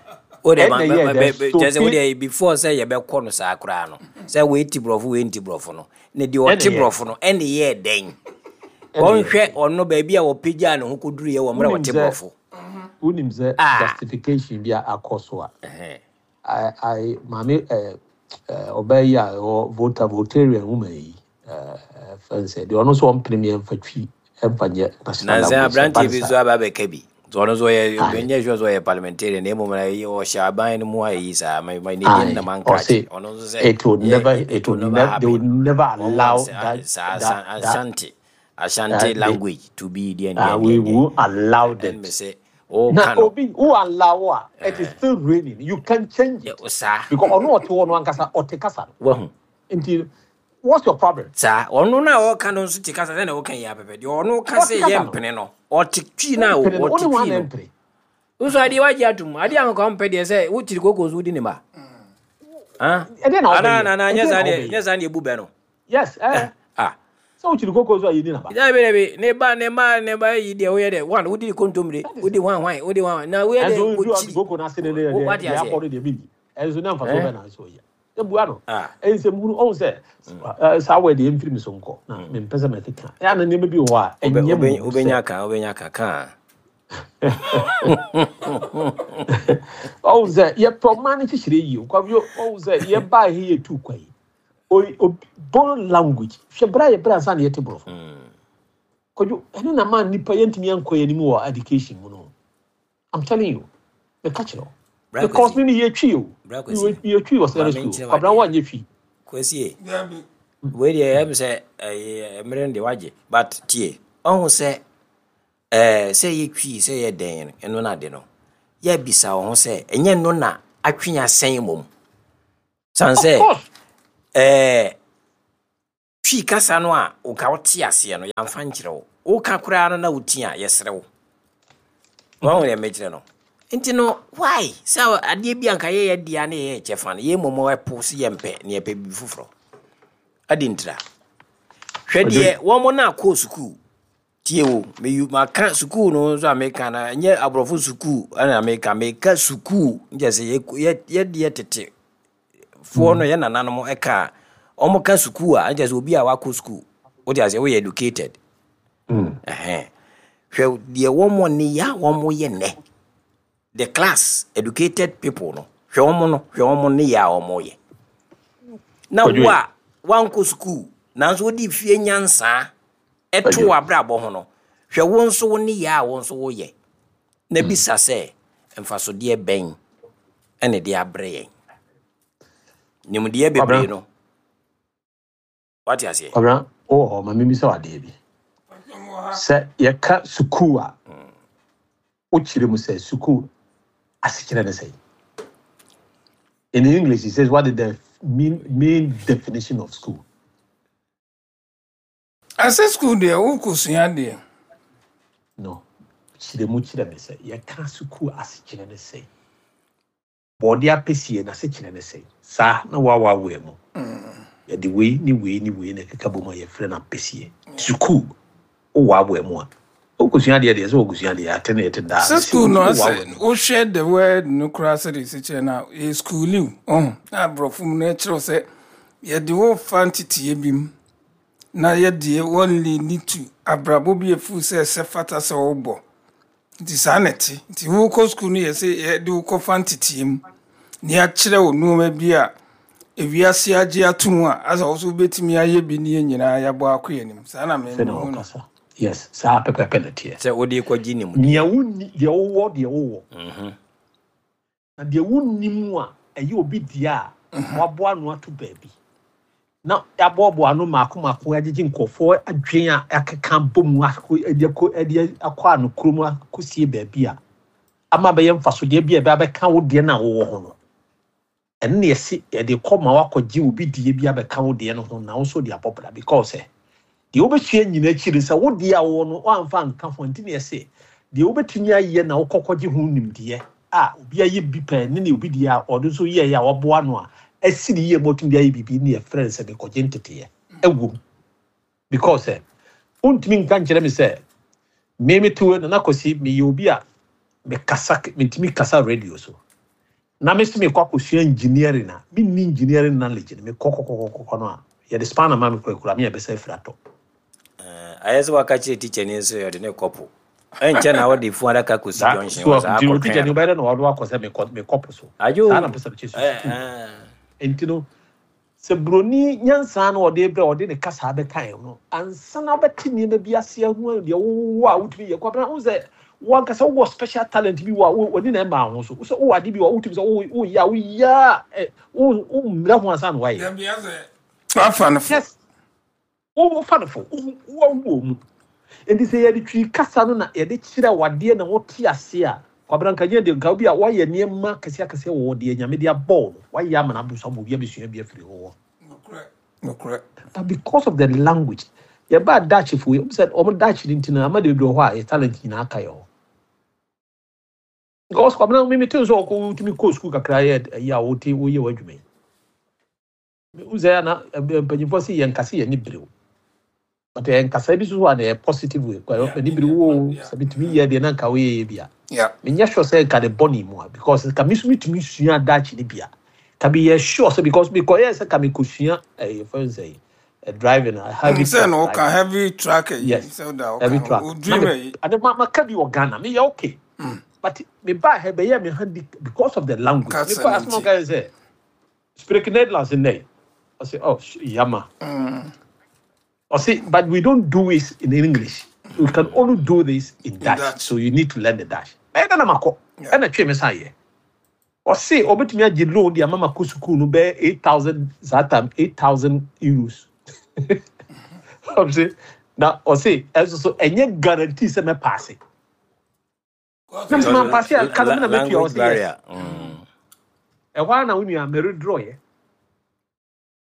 O de ma Ɛna ma yɛɛ ma dɛn bɛ bɛ kyerɛ sɛ o sofi deɛ before sɛ yɛbɛkɔ no saa koraa no sɛ wei ti borɔfo, wei nti borɔfo no ne deɛ ɛna ɔte yɛɛ borɔfo no ɛna yɛɛ dɛn? Ɛna yɛɛ Wɔnhwɛ dɛn? ɔno baabi a wɔpagyaa ne ho kɔduruyɛ wɔ mmerɛ a Wonim wɔte sɛ borɔfo. Wonim sɛ a justification bi a akɔ so a ɛhɛn. I I maame ɛɛ ɛɛ ɔbaa yi a ɛwɔ Volta, Voltarian woman yi, ɛɛ fɛn sɛ deɛ ɔno nso ɔmpene mi ɛmfa Twi ɛmfa nyɛ national Nansa language sɛ ba aberanteɛ ne bi saa. nso aba abɛka bi nti ɔno nso ɔyɛ Aye. ɔnyɛ sure sɛ ɔyɛ parliamentarian na mmom na ɛyɛ- ɔhyɛ aban no mu a ɛyi saa ma ma ne din na Aye. mankrakye Ɔse ɔno nso sɛ it will yɛ never it it will will never never, they will happen never wɔn allow want that saa that that Ashanti Ashanti uh, they language to be deɛ uh, deɛ we deɛ deɛ won't allow ɛn me that. sɛ Na ɔka no. obi who allow a, it is still raining, you can change it ɛ- saa because ɔno ɔte hɔ no ankasa ɔte kasa no. Wahu. Nti what's your problem? Saa ɔno no a ɔka no nso te kasa sɛ na ɔka yi apɛpɛ deɛ ɔno ka Ɔte sɛ kasa yɛ no. mpene no, ɔte Twi no a ɔmpene no ɔte ɔne wɔn Twi ana no mpene. Nso adeɛ wagye atom adeɛ a nka ɔmpɛ deɛ sɛ wotiri koko so wodi ne ma. Ah? Ɛdeɛ na Ana ɔbɛyɛ na na nyɛ ɛdeɛ saa na deɛ nyɛ ɔbɛyɛ saa deɛ ebu bɛ no. Yes, ɛɛ Ah. Sɛ wokyiri koko so a yɛni naba. Dabi, dabi, ne ba ne ma ne ba yi deɛ woyɛ dɛ one wodi ne kontomire. That is Wodi hwan hwan, wodi hwan hwan na woyɛ ɛnso dɛ wodu ɔte wokyiri koko n'ase ne ne wo deɛ wate deɛ aseɛ. Akɔ no deɛ bi ɛnso ne nfa so Eh bɛ na nso yɛ ebua no. Ah. Ɛyɛ sɛ muhunu ɔhu sɛ ɛɛ saa wɔ deɛ mfiri mi so nkɔ na mempɛ sɛ mɛkeka ɛyɛ ana nneɛma bi wɔ hɔ a Obe ɛnyɛ obe mu sɛ obenya ka obenya ka ka. Ɔhu sɛ yɛpɛ ɔman no kyekyere yie Kwabio. Ɔhu sɛ yɛbaa he yɛtu kwa yi Oi- obi- borrow language hwɛ berɛ a yɛbrɛ ansa na yɛte borɔfo. Kwadwo, ɛno na ma nnipa yɛntumi ankɔ yɛn anim wɔ education mu no. I'm telling you, meka kyerɛ wo Bra because Kwasi. me me yɛtwi o. Bra Kwasi. Yɛtwi wɔ Ma secondary me school. nkyerɛ Kwabena wadeɛ. woanyɛ twi. Kwasi. Dabi. Wei deɛ ɛm sɛ ɛyɛ mmerɛ no deɛ wagye, but tie, ɔhu sɛ ɛɛ sɛ yɛtwi sɛ yɛ dɛn no, ɛno no ade no yɛbisa wo ho sɛ ɛnyɛ no na atwe asɛn mmom san Of sɛ course. ɛɛ Twi kasa no a woka wote aseɛ no, yɛamfa nkyerɛ wo, woka koraa no na woti a yɛserɛ wo. Wahu deɛ mekyerɛ no? Nti no, why sɛ adeɛ bi anka yɛyɛ dea ne yɛyɛ kyɛfa no, yɛn mmom ɛpo so yɛmpɛ ne yɛpɛ biribi foforɔ. Adi ntira. Hwɛ deɛ wɔn no akɔ sukuu. Tie o, meyu maka sukuu no nso a meka no, ɛnyɛ aborɔfo sukuu ɛna meka, meka sukuu nkyɛ sɛ yɛ yɛdeɛ tete foɔ no, yɛ nananom ɛka a, wɔn ka sukuu a, nkyɛ sɛ obi a wakɔ sukuu, wote aseɛ, woyɛ educated. Mm. Ɛhɛn. Hwɛ deɛ wɔn ne yɛ a wɔn yɛ nnɛ. The class educated people no, hwɛ wɔn no, hwɛ wɔn ne yɛ a wɔn yɛ. Na Kwadwo wo a wankɔ sukuu, nanso wode fie nyansaa ɛto Kwadwo. w'abrabɔ ho no, hwɛ wo nso wo ne yɛ a wo nso woyɛ. Na bisa sɛ, mfasodeɛ bɛn ɛna de abrɛ yɛn? Nimdeɛ bebree Kwabena. no. Wate aseɛ? Kwabena, wowɔ hɔ ma mebisa wo adeɛ bi. Sɛ yɛka sukuu a, wokyerɛ mu sɛ sukuu asekyerɛ ne sɛn? In English, it says, what is the mean, main definition of school? Asɛ school deɛ, wokɔsua deɛ. No. Kyerɛ mu kyerɛ me sɛ yɛka sukuu asekyerɛ ne sɛn? Bɔɔde apɛsie n'asekyerɛ ne sɛn? Saa na woawaawaa mu. Yɛde wei ne wei ne wei na ɛkeka bɔ mu a yɛfrɛ no apɛsie. Sukuu, wowaawa mu a, wokɔsua adeɛ deɛ sɛ wokɔsua adeɛ ate ne yɛte daa. Sɛ school no, asɛ Wowaawaa mu. wohwɛ the word no koraa sɛde ɛsi kyerɛ no a, ɛyɛ schooliw ɔho na aborɔfo mu no ɛkyerɛw sɛ yɛde wo fa nteteyɛ bi mu na yɛdeɛ wɔnle need to abrabɔ bi afu sɛ ɛsɛ fata sɛ wobɔ, nti saa na ɛte. Nti wokɔ school no, yɛ sɛ yɛde wo kɔfa nteteyɛ mu na yɛakyerɛ wo nneɔma bi a ewiase agye ato mu a asɛ wo so wobɛtumi ayɛ bi ne yɛn nyinaa yɛabɔ akɔ yɛn anim. Saa na Sɛ na mehu no. wɔkasa. Yes, saa pɛpɛpɛ na teɛ. Sɛ wode kɔgye nimdeɛ. Nea wonni, deɛ wowɔ, deɛ wowɔ. Mhm. Na deɛ wonni mu a, ɛyɛ obi deɛ a waboa ano ato baabi. Na yɛaboaboa ano mmaako mmaako, agyegye nkurɔfoɔ adwene a akeka bɔ mu akɔ ɛde akɔ ɛde akɔ ano kurom akɔsie baabi a ama bɛyɛ mfasodeɛ bi a ɛbɛ abɛka wo deɛ no a wowɔ ho no. Ɛno na yɛsi yɛde kɔ ma wakɔgye obi deɛ bi abɛka wo deɛ no ho na wo nso de abɔ bra, because ɛ deɛ wobɛsua nyina akyiri sɛ wo deɛ a wowɔ no woamfa nka ho. Nti na yɛse deɛ wobɛtumi ayɛ na wokɔkɔgye ho nimdeɛ a obi ayɛ bi pɛɛ ne ne obi deɛ a ɔno nso yɛɛ a waboa no a asi ne yie ma ɔtumi de ayɛ biribi ne yɛfrɛ no sɛ mekɔgye nteteeɛ ɛwom, because ɛ wontumi nka nkyerɛ me sɛ me mete wei no na kɔsi meyɛ obi a mekasa, mentumi kasa radio so na me so mekɔ akɔsua engineering a menni engineering knowledge no, mekɔ kɔkɔkɔkɔ no a yɛde spanner ma me kurakura me yɛbɛsɛ afiri atɔ. Eh, ayɛ sɛ waka kyerɛ tikyani nso yɛde ne kɔpo ɛnkyɛ na wode fu adaka kɔsi saa junction so hɔ saa nti o teacher akɔtwɛn ni no. wobɛyɛ dɛ na wɔde wakɔ sɛ mekɔ mekɔ po so. Adwo. Saa na mpɛ sɛ mekyɛ so Eh, sukuu. eh. Nti no sɛ buroni nyansa no ɔde brɛ ɔde ne kasa bɛka no ansa na wobɛte nneɛma bi ase ahu deɛ wowɔ a wotumi yɛ. Kwabena, wo sɛ wankasa wowɔ special talent bi wɔ a wo- w'ani na ɛma ho so sɛ wowɔ ade bi wɔ a wotumi sɛ wo- woyɛ a woyɛ a ɛ, wo wommrɛ ho ansa na woayɛ. Dabi, asɛ wafa no fo. Yes, wofa no fo, woawu wɔ mu. Nti sɛ yɛde Twi kasa no na yɛde kyerɛ wadeɛ na wote ase a, Kwabena, nka nyɛ deɛ nka obi a woayɛ nneɛma kɛseɛ akɛseɛ wɔ deɛ Nyame de abɔ wo no, woayɛ ama no aboro so ama obi abɛsua bi afiri hɔ. Nokorɛ, nokorɛ. But because of the language, yɛbaa Dutch fo yi, ɔmo sɛ ɔmo Dutch no nti no ama de bebree wɔ hɔ a yɛ talent nyinaa aka yɛ hɔ, because Kwabena, mi mi te sɛ ɔkɔ wotumi kɔ sukuu kakra yɛ ɛyi a wote woyɛ w'adwuma yi, wo sɛ ana mpanyinfoɔ sɛ yɛn kasa yɛ ni berew, but yɛn kasa bi so so a na yɛ positive way kwa Yeah, ani bere wo yeah. sɛ bitumi yɛ deɛ na nka woyɛ yɛ bi a Yeah. menyɛ sure sɛ nka de bɔne mu a, because nka me so metumi sua Dutch no bi a ka meyɛ sure sɛ, because mekɔyɛɛ sɛ ka mekɔsua ɛyɛ fɛn sɛ ɛ driving a heavy Sɛ truck na woka driving. heavy truck yi. Yes. Sɛ woda Heavy woka truck wo na dream me yi. ade ma maka bi wɔ Ghana, meyɛ okay, but me baa ha bɛyɛ me handy because of the language. Kasa mekɔ no asɛm nti. ɔka yɛ sɛ spreek Nederlands nnɛ, ɔsɛ oh sh- yama. Ɔsɛ but we don't do it in English, we can only do this in In Dutch. Dutch. So you need to learn the Dutch. Ɛyɛ dɛ na makɔ Yeah. ɛna twe me san yɛ. Ɔse ɔbɛtumi agye loan de ama ma kɔ sukuu no bɛyɛ eight thousand, saa time eight thousand euros. Ɔse na ɔse ɛnso so ɛnyɛ guarantee sɛ mɛpaase na mesɛ mampaase a ka no me na mɛtua. Language Ɔse yes. barrier. Mm. Ɛhɔ ara na wo nua meredraw yɛ,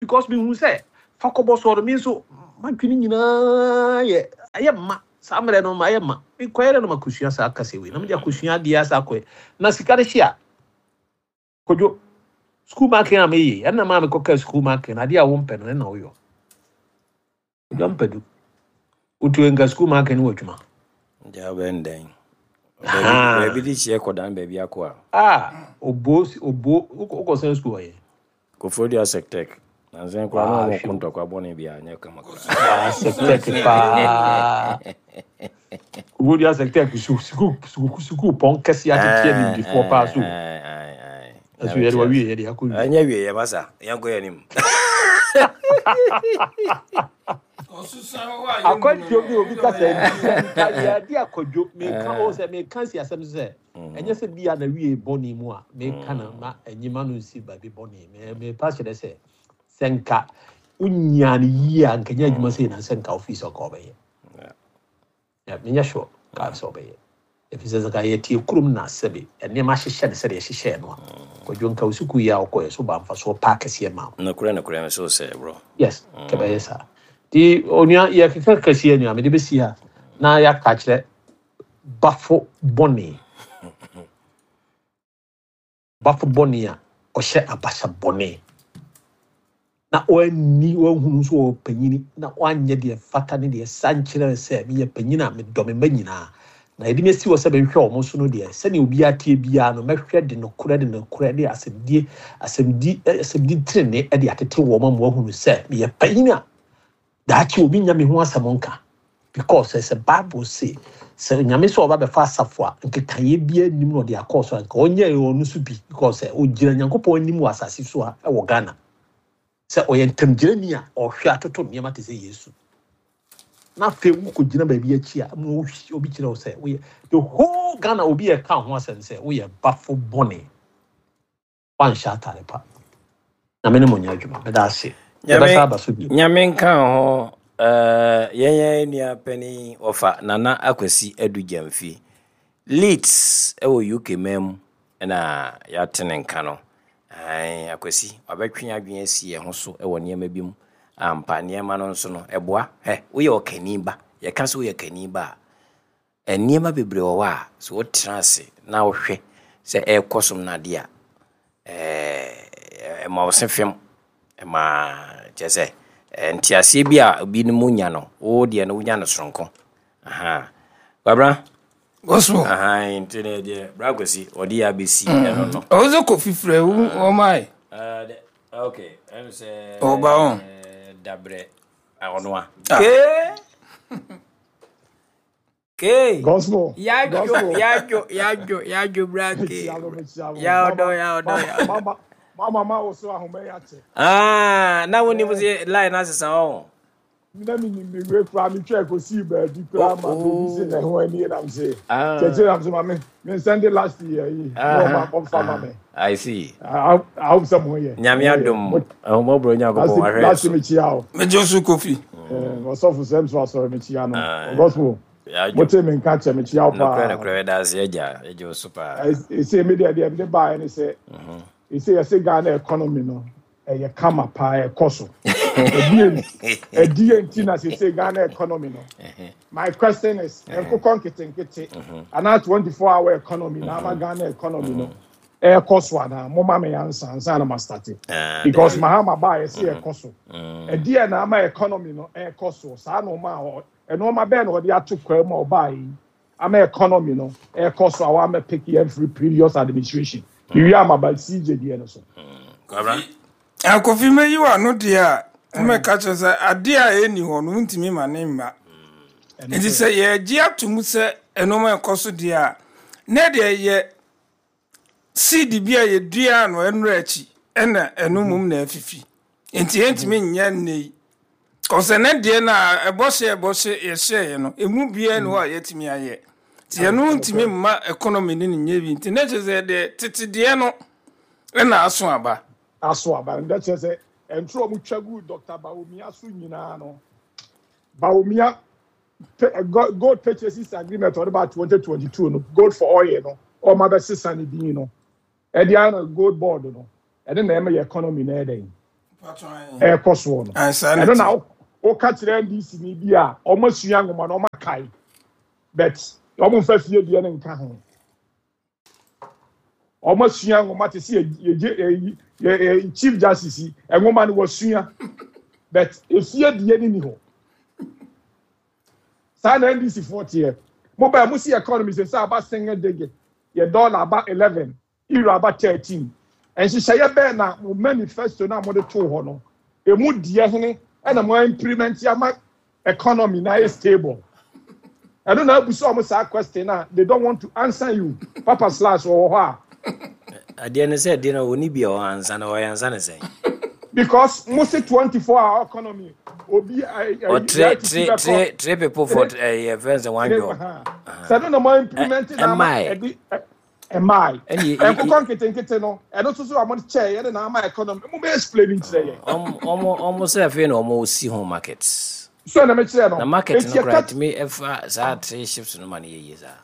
because mehu sɛ fa kɔbɔ soɔ no, me nso madwene nyinaa yɛ ɛyɛ mma. Saa mmerɛ no mayɛ ma mekɔyɛ dɛ no makɔsua saa kasa wei na mede akɔsua adeɛ asa akɔyɛ na sika no hye a Kodwo school marking a meyɛ ɛna maa mekɔka school marking adeɛ a wompɛ no ɛna woyɔ. Kodwo Ampadu, wotu nka school marking no wɔ adwuma. Nti wobɛn dɛn? Baabi de kyeɛ kɔdan baabi akɔ a. Ah, obo obo wokɔsɛn school ɔyɛ Koforidua Sectec. Nansan koraa na ɔmo ko ntɔkwa bɔne bi a nyɛ kama koraa. Sectec paa. Koforidua Sectec su sukuu sukuu sukuu pɔn kɛseɛ atete animdifoɔ paa so. Ɛso yɛde wawie, yɛde akɔ wie. Ɛnyɛ wie yɛ masa. Yɛnkɔ yɛ anim. Akwantuo bi obi kasa nka yɛde akɔdwo meka o sɛ meka si asɛm so sɛ ɛnyɛ sɛ bia na wie bɔne mu a meka na ma ɛnyima no nsi baabi bɔne. Mepa kyerɛ sɛ sɛ nka wonya no yie a nka nyɛ adwuma sɛ na sɛ nka ofii sɛ ɔka ɔbɛyɛ. Menyɛ sure ka sɛ ɔbɛyɛ, ɛfiri sɛ sɛ nka yɛtie kurom na sɛbe nneɛma ahyehyɛ no sɛdeɛ ɛhyehyɛɛ no a, Kwadwo, nka wo sukuu yi a wokɔɛ so ba mfasoɔ paa kɛseɛ ma wo. Nokorɛ nokorɛ me so sɛ bro. Yes, kɛbɛyɛ saa. Nti onua yɛkeka kɛseɛ nua mede bɛsi ha na yɛaka kyerɛ bafo bɔne bafo bɔne a ɔhyɛ abasa bɔne na wanni wahunu nso wɔ panyini na wanyɛ deɛ fata ne deɛ sa nkyerɛ sɛ meyɛ panyini a medɔ me mma nyinaa na yɛde me asi hɔ sɛ menhwɛ wɔn so no deɛ, sɛnea obiara tie biara no mɛhwɛ de nokorɛ de nokorɛ de asɛmdie asɛmdi asɛmdi tenene de atete wɔn ama wɔahunu sɛ meyɛ panyini a daakye obi nya me ho asɛm nka, because sɛ Bible say sɛ Nyame sɛ ɔba bɛfa asafo a nkekaeɛ biara nim na ɔde akɔɔ so a nka ɔnyɛ ɔno so bi, because sɛ ɔgyina Nyankopɔn anim wɔ asase so a ɛwɔ Ghana sɛ ɔyɛ ntamgyerani a ɔhwɛ atoto nneɛma te sɛ Yesu na afei wokɔgyina baabi akyi a ma obi kyerɛ wo sɛ woyɛ the whole Ghana obi yɛ ka ho asɛm sɛ woyɛ bafo bɔne, wanhyɛ atare pa. Na me ne mo nyɛ adwuma. Meda ase. Yɛbɛsa aba so bio. Nyame nka ho. Yɛn yɛn nua panin ɔfa Nana Akwasi Adu Gyamfi Leeds ɛwɔ U K man mu ɛna yɛate ne nka no. Akwasi wabɛtwe adwene asi yɛn ho so ɛwɔ nneɛma bi mu. Ampa nneɛma no nso no ɛboa. Hɛ, woyɛ ɔkani ba, yɛka sɛ woyɛ kani ba a, nneɛma bebree wɔ hɔ a sɛ wotena ase na wohwɛ sɛ ɛrekɔ so no adeɛ a, ɛɛ ɛma wo se fam, ɛma kyerɛ sɛ nteaseɛ bi a obinom nya no, wo deɛ no wonya no soronko. Aha Kwabra. Gospel. Aha, nti ne deɛ bra Kwasi ɔde yɛ abɛsi ɛno no. Ɔwɔ sɛ Kofi frɛ wo ɔmae. Okay, ɛm sɛ ɔba hɔ. Dabrɛ ɔno a. Kee. Kee. Gospel. Yadwo, yadwo, yadwo, yadwo bra kee. Ya ɔdɔ, ya ɔdɔ, ya ɔdɔ. Mama ma wo so ahoma ya kyɛ. Ah, na wo ni mo se line na sesa o. Na mi ni mi we kura mi twɛ ko si baabi kura ma obi si na ho ani nam se. Kyɛkyɛ nam se ma me me send last year yi. No ma ɔmfa ma me. I see. I I hope some ho yɛ. Nyame adom. Ahomɔborɔ Nyankopɔn ahwɛ. Last me chia o. Me jo so Kofi. Eh, ɔsɔfo sɛm so asɔre me chia no. Gospel. Mo te me nka kyɛ me chia o paa. Nokorɛ nokorɛ da ase agya. Agya o so paa. Ese me deɛ deɛ me ba ne sɛ. Ese yɛse Ghana economy no ɛyɛ kama paa ɛkɔ so. Ɛdi nti na sese Ghana economy no. My question is, nkokɔ nketenkete ana twenty-four hour economy na ama Ghana economy no ɛkɔ so ana mo ma me ansa ansa na ma start. Because Mahama ba yɛse ɛkɔ so. Ɛdi na ama economy no ɛkɔ so. Saa no ma ɛno ma bɛn na ɔde ato kwa mu ɔba yi ama economy no ɛkɔ so awa ma pick every previous administration. Iwi ama ba C J D no so. Kwabra. Akofi me yi wa no de a me ka che sɛ ade a eni hɔ no ntimi ma ne mma. Nti sɛ ye gye atom sɛ eno ma ɛkɔ so de a na de ye seed bi a ye dua no enura akyi ena eno mum na afifi. Nti entimi nya nei. Kɔsɛ ne de na ɛbɔ hye ɛbɔ hye ye hye no emu bia no a yetimi ayɛ. Ti eno ntimi mma economy ni nye bi. Nti na che sɛ de tete de no ena aso aba. Aso aba nda che sɛ entro mu twagu Doctor Bawumia so nyina no. Bawumia gold purchases agreement on about twenty twenty-two no gold for oil no o ma be sesa ni din no. E dia na gold board no. E na e ma economy na e den. E koso no. E no na o ka kire N D C ni bi a o ma sua ngoma na o ma kai. But wɔn mfa fie deɛ no nka ho. Wɔn asua nwoma te sɛ yɛ yɛ yɛ Chief Justice yi, nwoma no wɔsua, but efie deɛ no ni hɔ. Saa na N D C foɔ teɛ. Mo bɛn mo si economy sɛ sɛ aba single digit, yɛ dollar aba eleven, euro aba thirteen. Nhyehyɛeɛ bɛn na mo manifesto na mo de too hɔ no emu deɛ hene ɛna mo implement ama economy na ayɛ stable? Ɛno na abusa ɔmo saa question na they don't want to answer you. Papa Slash wɔ hɔ a. Adeɛ no sɛ adeɛ no ɔni bi a ɔwɔ ansa na ɔyɛ ansa ne sɛn? Because mo se twenty four hour economy, obi Or three three three three people for ɛyɛ fɛn sɛ one job. Sɛ no na mo implement na ama ɛmmae. Ɛde ɛmmae. Ɛne nkokɔ nketenkete no, ɛno nso so a mo kyɛ yɛde na ama economy mo bɛ explain nkyerɛ yɛ. ɔmo ɔmo ɔmo sɛ afei na ɔmo si ho market. So na mekyerɛ no. Na market eti no koraa ɛka tumi ɛfa saa three shifts no ma no yɛ yie saa.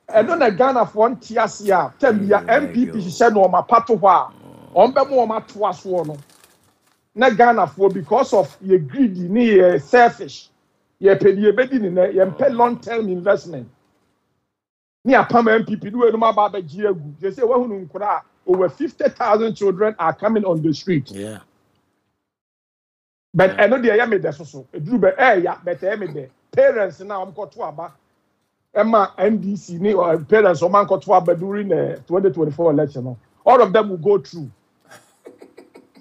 Ɛno na Ghanafoɔ nte ase a tɛm bia Mm, N P P hyehyɛ nneɛma pa to hɔ a wɔn bɛ mo wɔn atoa soɔ no na Ghanafoɔ, because of yɛ greedy ne yɛ selfish, yɛ pɛ deɛ yɛbɛdi ne nɛ, yɛn pɛ long term investment ne apam N P P ne wɔn aba abɛgye agu. Sɛ sɛ wɔahunu nkora a over fifty thousand children are coming on the street. Yeah. But ɛno deɛ, ɛyɛ mi dɛ soso eduru bɛ ɛɛya, but ɛyɛ mi dɛ parents na wɔn kɔto aba ɛma N D C ne uh, parents wɔn ankɔto aba during the twenty twenty four election no, all of them will go through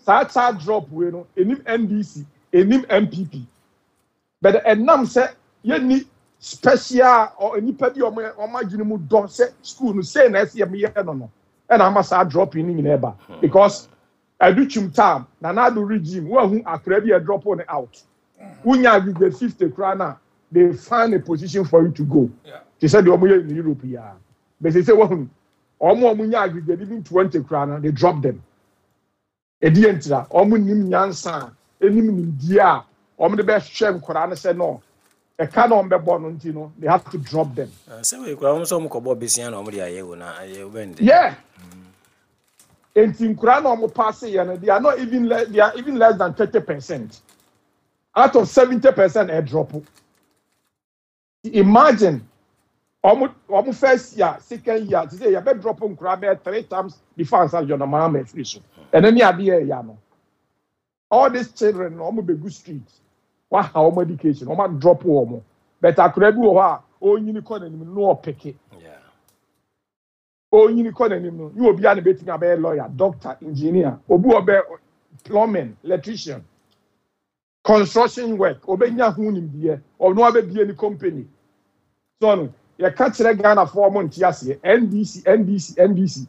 saa child drop wei no. Enim N D C, enim N P P, but ɛnam sɛ yɛni special or nipa bi a wɔn wɔn adwene mu dɔ sɛ school no sei na ɛsɛ yɛ yɛ no no ɛna ama saa drop yi ne nyinaa ba, because Adutwum time, Nana Addo regime, wɔn ahu akora bi a drop ne out, wonya aggregate fifty koraa na they find a position for you to go. Yeah. Te sɛ deɛ wɔn yɛ in Europe yi a bɛsɛ sɛ wɔn wɔn a wɔn nya aggregate even twenty koraa na they drop them. Edi yɛn ntira wɔn nim nyansa a enim nimdeɛ a wɔn de bɛhwɛ nkwaraa no sɛ no ɛka na wɔn bɛbɔ no nti no, they have to drop them. Ah, sɛ wei koraa wɔn nso wɔn kɔbɔ besia na wɔn de ayɛ wo na ayɛ wobɛn de. Yeah, nti nkwaraa na wɔn pass yɛ no, they are not even le they are even less than thirty percent out of seventy percent ɛ drop. Imagine wɔn wɔn first year, second year, ti sɛ yɛbɛ drop nkwaraa bɛyɛ three times before ansa John Mahama efiri so. Ɛno ne adeɛ ɛyɛ no, all these children na wɔn bɛ gu street, waha wɔn education, wɔn drop wɔn, but akwaraa bi wɔ hɔ a ɔnyini kɔ n'anim no ɔpeke. Yeah. Onyini kɔ n'anim no nye obi a na betumi abɛyɛ lawyer, doctor, engineer, obi wɔ bɛ plumbing, electrician, construction work, obenya ho nimdeɛ, ɔno abɛbie ne company. So no yɛka kyerɛ Ghanafoɔ, ɔmo nte aseɛ. N D C, N D C, N D C,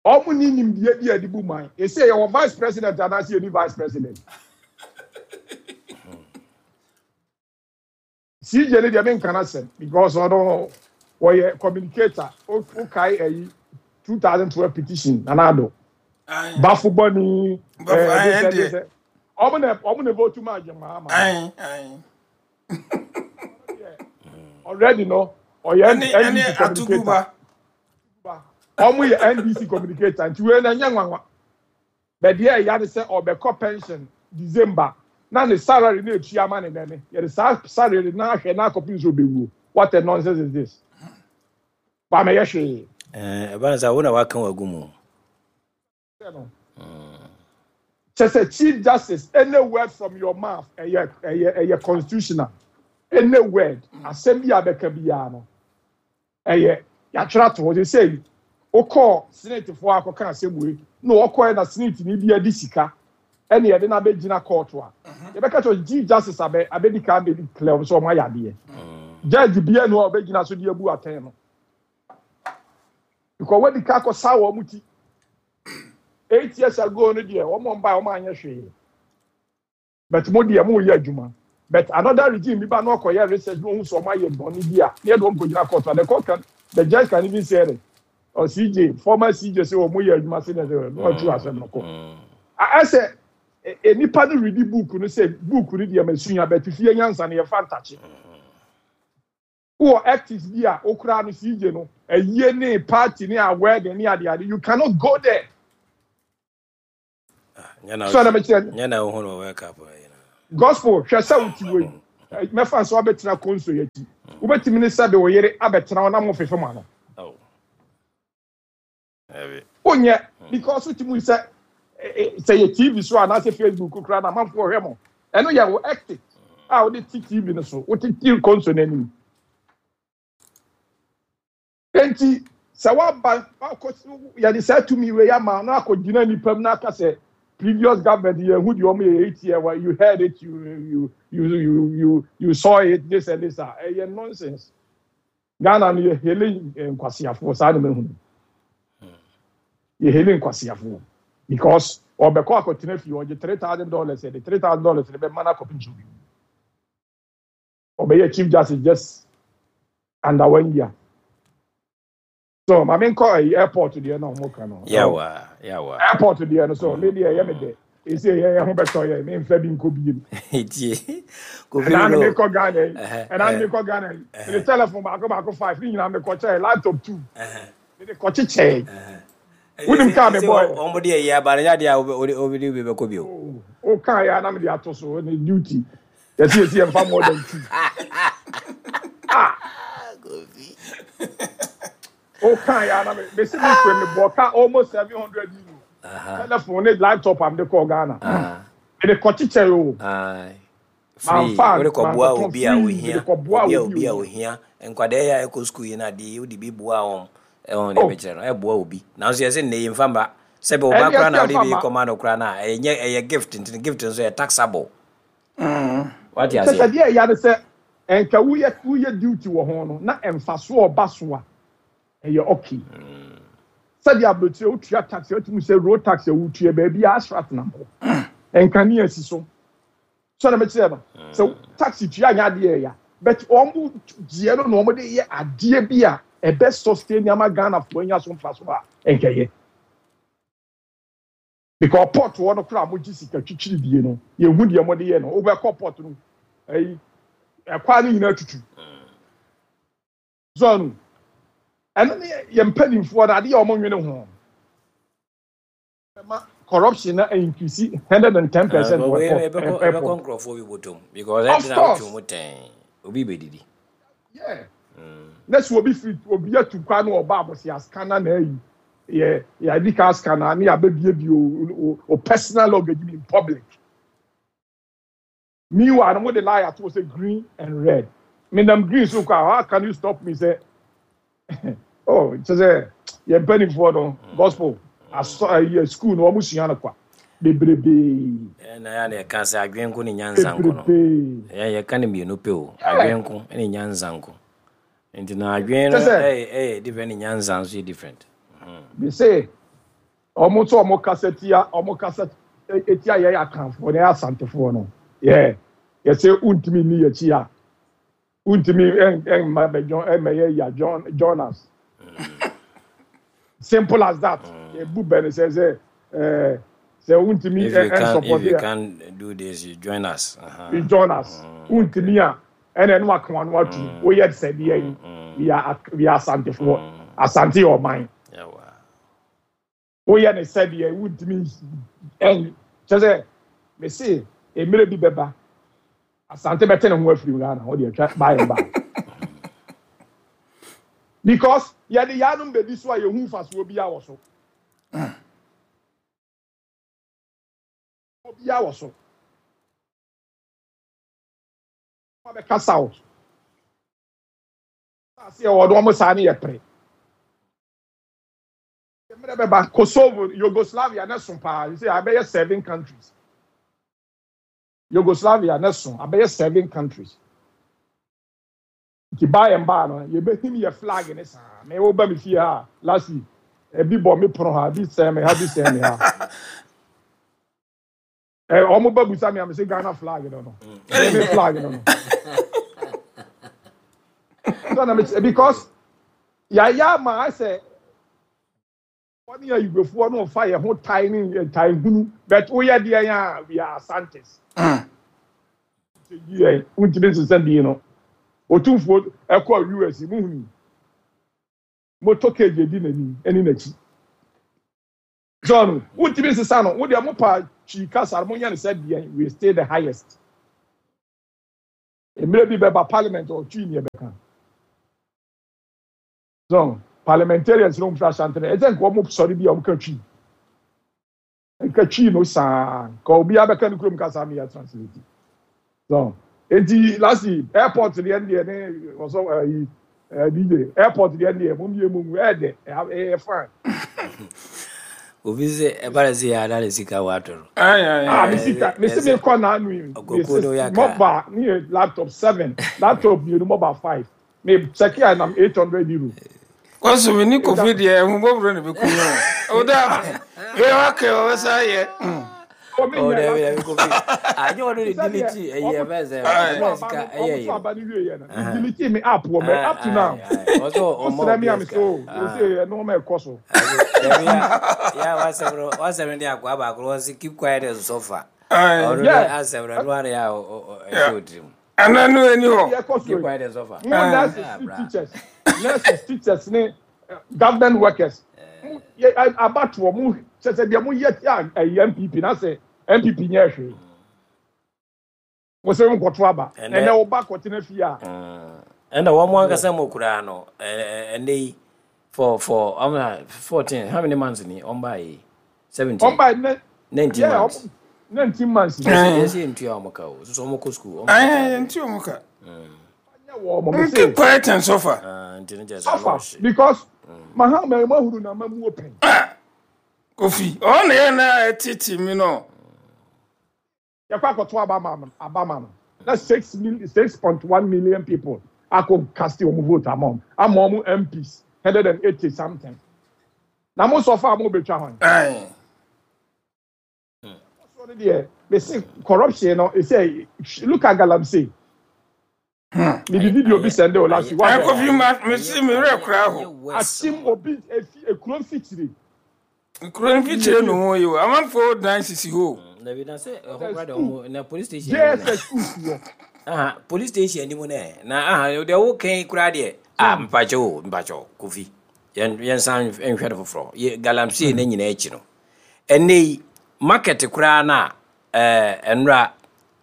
ɔmo ni nimdeɛ bi a yɛde bu man. Ese yɛwɔ vice president anaasɛ yɛni vice president? C J ne deɛ, menka no asɛm because ɔno wɔyɛ communicator. Wokae ayi twenty twelve petition, Nana Addo Aye. bafo bɔni. Bafo, aye, ɛndeɛ. ɔmo na ɔmo na vote ma agye Mahama. Aye, aye. Already no ɔyɛ Ɛne ɛne N D C communicator. Atuguba. Ɔmo yɛ N D C communicator, nti wei na ɛnyɛ nwanwa. Bɛdeɛ ɛya ne sɛ ɔbɛkɔ pension December na ne salary na etua ama ne nɛne yɛde saa salary na ahwɛ na akɔpem sɛ ɔbɛwuo. What a nonsense is this? Wamɛyɛ hwee. Eh, ɛba no sɛ wo na waka wagu mu. Kyɛ sɛ Chief Justice, any word from your mouth ɛyɛ ɛyɛ ɛyɛ constitutional. Any word, asɛm bi a bɛka biara no, ɛyɛ yɛatwerɛ ato hɔ. Sɛ sɛ wokɔɔ senetefoɔ akɔka asɛm wei na wɔkɔɛ na senate ni bi adi sika ɛne yɛde no abɛgyina court a, yɛbɛka kyerɛ Chief Justice abɛ abɛdi kan abɛdi clear sɛ ɔmo ayɛ adeɛ. Judge bia no a ɔbɛgyina so de abu atɛn no because wɔdi ka akɔ saa wɔn ti eight years ago no deɛ, wɔn mba wɔn anyɛ hwee, but mo deɛ, mo yɛ adwuma. But another regime bi ba na ɔkɔyɛ research na ohun sɛ ɔmo ayɛ bɔnne bi a ne yɛ de wɔn kɔ gyina court, and the court can the judge can even say it or C J, former C J, sɛ wɔn yɛ adwuma sɛ ɛsɛ na ɔtu asɛm no kɔ. Ɛsɛ nipa no read book no sɛ book no deɛ ma sua, but fie nyansa no yɛfa ntakye wɔ ethics bi a okura no. C J no ɛyie ne party ne a wedding ne adeade, you cannot go there. Nyɛ na So na mekyerɛ nyɛ na wohu no wɔ World Cup yi na. Gospel, hwɛ sɛ wote wɔ yi Mɛfa nso abɛtena console yɛ akyi, wobɛtumi ne sɛbe wo yere abɛtena hɔ na mo fefe mo ano. Oh. Ɛbi. Wonyɛ, because wotumi sɛ sɛ yɛ T V so anaasɛ Facebook koraa na amanfoɔ hwɛ mo. Ɛno yɛ wo ethic a wode te T V no so, wote ti console no anim. Enti sɛ woaba wakɔ, yɛde saa tumi wei ama na akɔgyina nipa mu na aka sɛ previous government, yɛn hu deɛ ɔmo yɛ eight year, well, you heard it, you you you you you you saw it, this and this a ɛyɛ nonsense. Ghana no, yɛ hele nkwasiafoɔ saa na mehu no. Yɛ hele nkwasiafoɔ because ɔbɛkɔ akɔtena fie, ɔgye three thousand dollars, yɛde three thousand dollars de bɛma no akɔpem so bi ɔbɛyɛ chief justice just under one year. So maame nkɔ ɛyi airport deɛ na ɔmo ka no. Yawa, yawa. Airport deɛ no, so me deɛ, ɛyɛ me dɛ esi ɛyɛ ɛho bɛtɔ yɛ me nfɛ bi nkɔ biem. Tie. Kofi. Ɛna no. mi kɔ Ghana yi, Ɛhɛ, ɛna mi ɛhɛ. kɔ Ghana yi, mede telephone baako baako five ne nyinaa mi kɔ kyɛɛ, laptop two mede kɔ kyekyɛɛ. Wonim kaa me bɔɔ yɛ. Ɔmo de ɛyɛ aba no nyɛ adeɛ a wode wode bi bɛkɔ bio. O kaa yɛ anam de ato so ne duty yɛsi yɛsi yɛn fa more than two. Ah, o kaa yɛ anam besi mi kure mi bɔ kaa almost seven hundred euro, telephone ne laptop am de kɔ Ghana, mede kɔ kyekyɛɛ o. Aye. Free. Mamfa Wode kɔboa mankɔtɔn. Obi a Free. ohia. Mede kɔboa obi a obi obi a ohia. Ohia. Nkwadaa yi a ɛkɔ sukuu yi na adeɛ yi wode bi boa wɔn. Ɛwɔn deɛ Oh. bɛkyerɛ no ɛboa obi. Nanso yɛsɛ nnɛ yi mfa mba. Sɛbɛ ɔba Ɛne koraa na ɛsɛ wode mfa bi ma. kɔma no koraa na ɛyɛ ɛyɛ gift, nti gift nso yɛ taxable. Wate Kyɛ sɛ aseɛ? deɛ ɛya ne sɛ nka woyɛ woyɛ duty wɔ ho no na mfaso ɔba so a ɛyɛ okay. Sɛdeɛ aburokyire wotua tax, wotumi sɛ road tax a wotua baabi a asphalt nam hɔ, nkanea si so sɔnna mɛkyerɛ no sɛ tax tua nyɛ adeɛ ɛya, but wɔn mo gyeɛ no na wɔn de yɛ adeɛ bi a ɛbɛ sustain nneɛma Ghanafoɔ anya so mfaso a nkɛyɛ, because port wɔ no koraa mo gye sika twitwiri die no, yɛhu deɛ mo de yɛ no. Wobɛkɔ port no, ɛyi ɛkwan no nyinaa tutu zɔnu. Ɛno ne yɛ mpanimfoɔ no adeɛ a wɔn nwene ho ɛma corruption na increase hundred and ten percent wɔ ɛbɛkɔ airport. Ɛbɛkɔ Airport. nkurɔfoɔ bi bɔtɔm because Of ɛnti na course. wotwe mu tɛn obi bɛdidi. Yeah, na sɛ obi firi obi atu kwan na ɔba abɔsi ascanner na ayi yɛ yɛ I D card scanner ne yɛabɛbiebie o o o personal luggage bi in public. Meanwhile no, mo de lie ato sɛ green and red, me nam green so kɔ a, how can you stop me? Sɛ oh, kyerɛ sɛ yɛn mpanimfoɔ no gospel asɔ ɛyɛ school no, wɔn sua no kwa bebrebee. Ɛna yɛ na yɛka sɛ adwene nko ne nyansa nko no. Bebrebee. Yɛn yɛka no mmienu pɛ o, adwene nko ne nyansa nko, nti na adwene no Kyɛ sɛ- ɛyɛ ɛyɛ different ne nyansa nso yɛ different. They say ɔmo nso ɔmo kasa tia, ɔmo kasa etia yɛ Akanfoɔ na yɛ Asantefoɔ no, yɛ yɛsɛ wuntumi ni yɛkyi a wuntumi ɛn ɛnma bɛ join, ɛmɛyɛ ya join join us, simple as that. Ebu bɛ ne sɛ sɛ ɛɛ sɛ wuntumi If you ɛ ɛ can if support you yɛ can do this, you join us. Uh-huh. You join us. Wuntumi a ɛna ɛno aka wɔn ano atu woyɛ sɛ deɛ yi, we are we are Asantefoɔ. Asante yɛ ɔman. Yawa. Woyɛ ne sɛdeɛ wuntumi ɛn kyɛ sɛ mese mmerɛ bi bɛba, Asante bɛte ne ho afiri Ghana hɔ deɛ atwa baayɛ ba, because yɛde yanom bɛdi so a yɛhu mfasoɔ bi wɔ so, obiara wɔ so bɛka south ase yɛ wɔde wɔn saa ne yɛ pere. Mmerɛ bɛba, Kosovo, Yugoslavia ne so paa sɛ abɛyɛ seven countries. Yugoslavia ne so abɛyɛ seven countries, nti baa yɛn baa no yɛbɛhim yɛ flag ne saa. Mɛ wo ba mi fie ha last week, ebi bɔ mi pono ha, ebi sɛn mi ha, ebi sɛn mi ha. Ɛ ɔmo ba busa mi a, mi sɛ Ghana flag no no mi flag no no so na mi because yaya ama asɛ wɔn yɛ Igbofoɔ no fa yɛn ho tae ne tae hunu, but woyɛ deɛ yɛn a, we are Asantes. Yɛn wuntumi nsesa din no. Otumfuo ɛkɔ U S mu hunu motorcade edi n'anim ɛne n'akyi. John wuntumi nsesa no, wo deɛ mo pa twi kasa mo nyɛ ne sɛ deɛ, we stay the highest. Mmerɛ bi bɛba parliament ɔtwi ne yɛbɛka so parliamentarians no mfra Ashanti no, ɛsɛ nka wɔn sɔre bi a wɔn ka Twi, nka Twi no saa nka obiara bɛka ne kurom kasa mi yɛ translate so. Eti last airport deɛ deɛ ne ɔsɔ ɛyi ɛɛ D J, airport deɛ deɛ mo mie mo mu ɛɛdɛ, ɛyɛ fine. Obi sɛ ɛba sɛ yɛ ada ne sika wato no. Ayi ayi. Ah, mi sika mi si mi kɔ n'anu yi mi si mobile ne yɛ laptop seven, laptop mmienu, mobile five, mi check a nam eight hundred euro. Kɔsɔ mi ni Kofi deɛ, ɛhu bɔburo na bɛ kun yɛn o, o da yɛ wa kɛ o bɛ sa yɛ. Oh, dabi dabi, Kofi anyɛ ɔno de delete ɛyɛ ɛfɛ sɛ ɛfɛ sika ɛyɛ yi. Ɔmo aba ni wie yɛ no, delete mi app wɔ mɛ up to now. Ɔsɔ ɔmɔ ɔsrɛ mi ami so o se ɛnum ɛkɔ so. Dabi ya ya, wasɛm no wasɛm no de akɔ abaako wɔsi keep quiet and suffer. Ɔno de asɛm no ɛno ara yɛ a ɛhyɛ otiri mu. Ana no ani hɔ. Keep quiet and suffer. Mo nurses, teachers, nurses, teachers ne government workers abatoɔ mo kyɛ sɛ deɛ mo yɛ a ɛyɛ N P P na sɛ N P P nyɛ hwee, mo sɛ mo nkɔto aba, ɛnɛ ɔba kɔtena fie a. Ɛnna wɔn ankasa mu koraa no, ɛnɛ yi for for um, fourteen, how many months ni wɔn ba yi, seventeen? Wɔn ba yi nineteen months. Nineteen months. Yɛsɛ ntua wɔn ka o, soso wɔn kɔ school. Ɛɛ, ntua wɔn ka. Keep quiet and suffer. Suffer because Mahama emu ahuru na ama mu open. Kofi ɔna yɛ na ɛtete mi no. Yɛkɔ akɔto aba ma no, aba ma no na six mil six point one million people akɔ cast wɔn vote ama wɔn ama wɔn M Ps hundred and eighty something, na mo sɔfo a mo betwa hɔn. So ne deɛ bɛsi corruption no ɛsɛ, look at galamsey. Mi di video bi send o last week. Ɛ, Kofi, ma mi si mi rɛ kura hɔ. Akyim obi efi ekuro mfikyire. Kuro mfikyire no ho yi o, amanfoɔ dan sisi hɔ. Dabi, na sɛ ɛhɔ kora de ɔmo na police station. J S S school si hɔ. Aha, police station anim nɛ na aha deɛ wo kɛn kora deɛ a, mpakyɛ o, mpakyɛ Kofi, yɛn yɛnsan nhwɛ no foforɔ yɛ galamsey ne nyinaa akyi no, ɛnɛ yi market koraa na ɛɛ ɛnura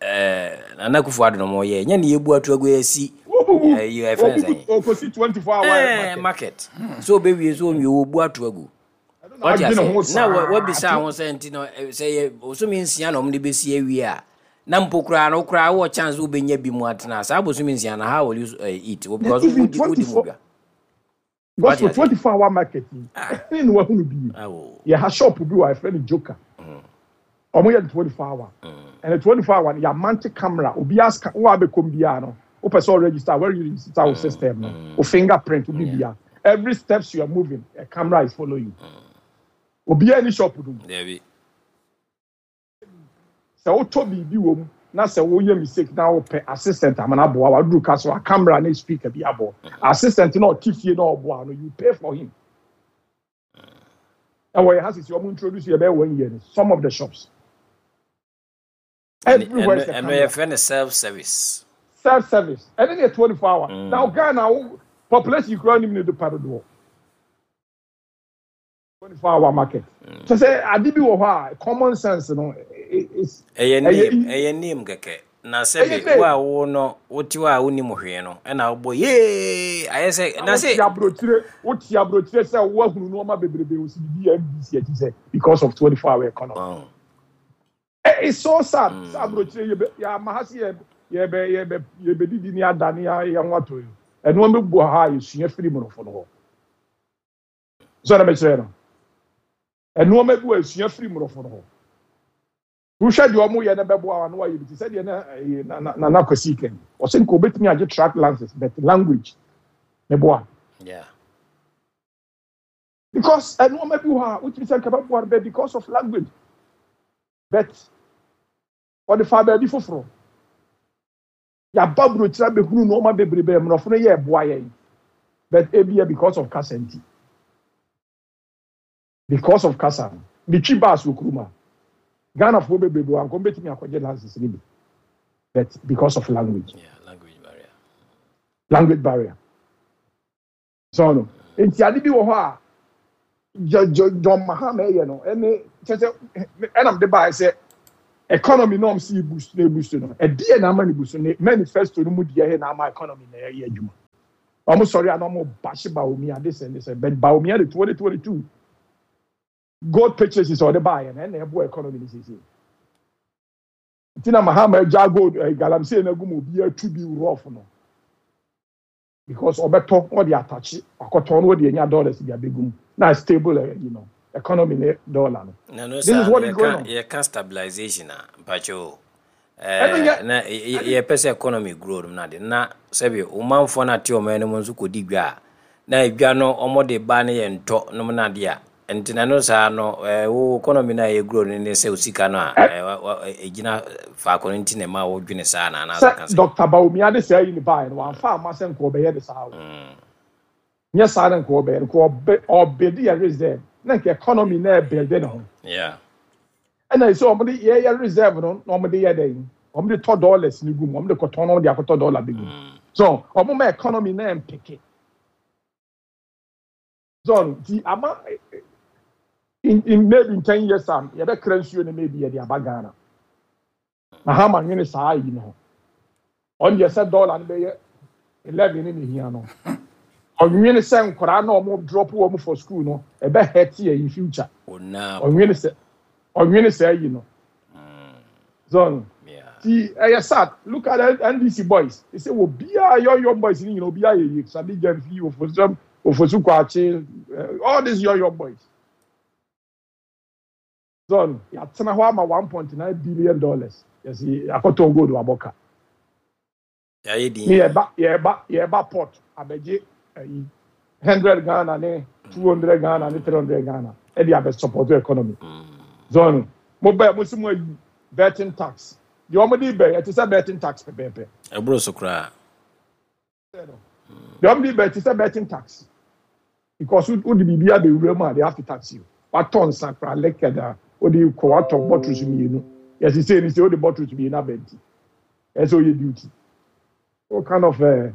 ɛɛ Nana Akufo Addo no mo yɛ nyɛ ne yɛbu ato agu yɛsi. Ɛyi ɛfɛn sɛn? Okosi twenty four hour market. Market so obewie so onwie, wɔbu ato agu. Wate ase na wabisa ho sɛ nti no sɛ yɛ bosome nsia na ɔmo de bɛsi awie a, na mpo koraa no koraa wɔ chance wobɛnya bi mu atena saa bosome nsia na how will you uh, eat? Because wodi wodi mu dwa. Gospel, twenty four hour market yi ɛne na wahunu bi yɛ ha, shop bi wɔ ɛfrɛ no Joker, ɔmo yɛ twenty four hour, ɛna twenty four hour no yɛ amante camera, obi aska wo abɛkɔm biara no, wopɛ sɛ ɔregister, where you register wo system no, wo fingerprint, wo bibia, every steps you are moving, a camera is follow you. Obiara ni shop no mu. Sɛ wotɔ biribi wɔ mu na sɛ woyɛ mistake na wopɛ assistant amana aboa wa duru ka so a, camera ne speaker bi abɔ assistant na ɔte fie na ɔboa no, you pay for him. Ɛwɔ yɛ ha sisi, ɔmo introduce yɛ bɛyɛ one year no, some of the shops everywhere is a ɛno camera. Yɛfrɛ no self service. Self service, ɛne ne yɛ twenty four hour. Now Ghana wo population kura nim ne do pa dodoɔ, twenty four hour market kyɛ sɛ ade bi wɔ hɔ a common sense no is ɛyɛ name, ɛyɛ name kɛkɛ na sɛbi wo a wo no wote hɔ a wonim hwee no, ɛna wobɔ yee ayɛ sɛ na sɛ sɛ aburokyire, wote aburokyire sɛ woahunu nneɛma bebrebe osi bibi N D C akyi sɛ because of twenty four hour economy. Oh. It's so sad sɛ aburokyire yɛ bɛ yɛ ama ha si yɛ yɛbɛ yɛbɛ yɛbɛdidi ne ada ne yɛn ho atɔ yi, ɛnneɛma bi bu ha a yɛsua firi mmorɔfo no hɔ so, ɛna mɛkyerɛ no ɛnneɛma bi wɔ esua firi mmorɔfo no hɔ. Wohwɛ deɛ ɔmo yɛ no bɛboa wa no wayɛ bi te sɛ deɛ na ɛyɛ na na Nana Kwasi kɛn ɔsɛ nka obetumi agye truck license, but language ne boa. Yeah. Because ɛnneɛma bi wɔ hɔ a wotumi sɛ nka bɛboa no, but because of language, but ɔde fa baabi foforɔ. Yaba burokyerɛ abɛhunu nneɛma bebrebe mmorɔfo no yɛ ɛboa yɛn, but ebia because of kasa nti, because of kasa no metwi bus wɔ kurom a Ghanafoɔ bebrebe wɔ ankɔm bɛtumi akɔgye license no bi, but because of language. Yeah, language barrier. Language barrier so no nti ade bi wɔ hɔ a John Mahama ɛyɛ no, ɛne kyɛ sɛ ɛnam de baa sɛ Economy na ɔmo si boost na boost no, ɛdeɛ na ama ne boost ne manifesto no mu deɛ yɛ na ama economy na ɛyɛ adwuma. Ɔmo sɔre a na ɔmo bahye Bawumia this and this, but Bawumia de twenty twenty two gold purchases ɔde baayɛ na ɛna ɛboa economy ne sisi. Nti na Mahama agya gold ɛ galamsey na gu mu, obi atu bi rough no, because ɔbɛtɔ, ɔde atakye akɔtɔn no, ɔde anya dollars de abɛgu mu na stable ɛ you know economy ne dollar no. Na no This saa is what no is going yɛka on. Yɛka stabilization a, mpakyɛ Ɛno nyɛ na yɛpɛ sɛ economy grow no, na de na sɛbi ɔmanfoɔ no ate ɔman no mu nso kɔdi dwa a, na dwa no ɔmɔde ba no yɛ ntɔ nom no adeɛ a, nti na no saa no eh, wo economy no a ɛyɛ grow no ne sɛ wo sika no a ɛ eh, wa- wa- ɛgyina faako no, nti na ɛma wodwene saa na anaasɛ ka Sɛ sɛ Doctor Bawumia de saa yi ne baayɛ no, wamfa ama sɛ nka ɔbɛyɛ de saa o. Nyɛ saa na nka ɔbɛyɛ no, nka ɔbɛ ɔbɛdi yɛ reserve na nka economy na ɛbɛlde ne ho. Yeah ɛna sɛ ɔmo de yɛyɛ reserve no na ɔmo de yɛ dɛ, ɔmo de tɔ dollars ne gu mu, ɔmo de kɔtɔn na ɔmo de akɔtɔ dollar bi gu mu, so ɔmo ma economy na mpeke so nti ama in in maybe in ten years time yɛbɛkra nsuo no, maybe yɛde aba Ghana. Na hama nwene saa yi no ho, ɔno deɛ sɛ dollar no bɛyɛ eleven ne ne hia no, ɔnwene sɛ nkwaraa na ɔmo drop wɔn for school no, ɛbɛ hurt yɛ in future. Ona. Ɔnwene sɛ ɔnwene sɛ yi no so Yeah ti ɛyɛ sad. Look at the N D C boys, they say obiara young young boys ni nyina, obiara yɛ yie. Sammy Gyamfi, Ofosu Ofosu Kwakye, eh, all these young young boys so yàtena hɔ ama one point nine billion dollars yɛsi akɔtɔn gold wabɔ yɛayɛ din. Ne yɛba yɛba yɛba port abɛgye ɛyi hundred Ghana ne two hundred Ghana ne three hundred Ghana ɛde abɛ support economy zone. Mo bɛɛ mo si mo ayi betting tax deɛ, wɔn de bɛ ɛte sɛ betting tax pɛpɛɛpɛ. Ɛboro so koraa. Deɛ wɔn de bɛ ɛte sɛ betting tax, because o de biribi abɛwura mu a, they have to tax you. Watɔ nsa kora liquor da o de kɔ, watɔ bottles mmienu, yɛsi sɛ ni sɛ o de bottles mmienu abɛnti ɛsɛ o yɛ duty. What kind of uh,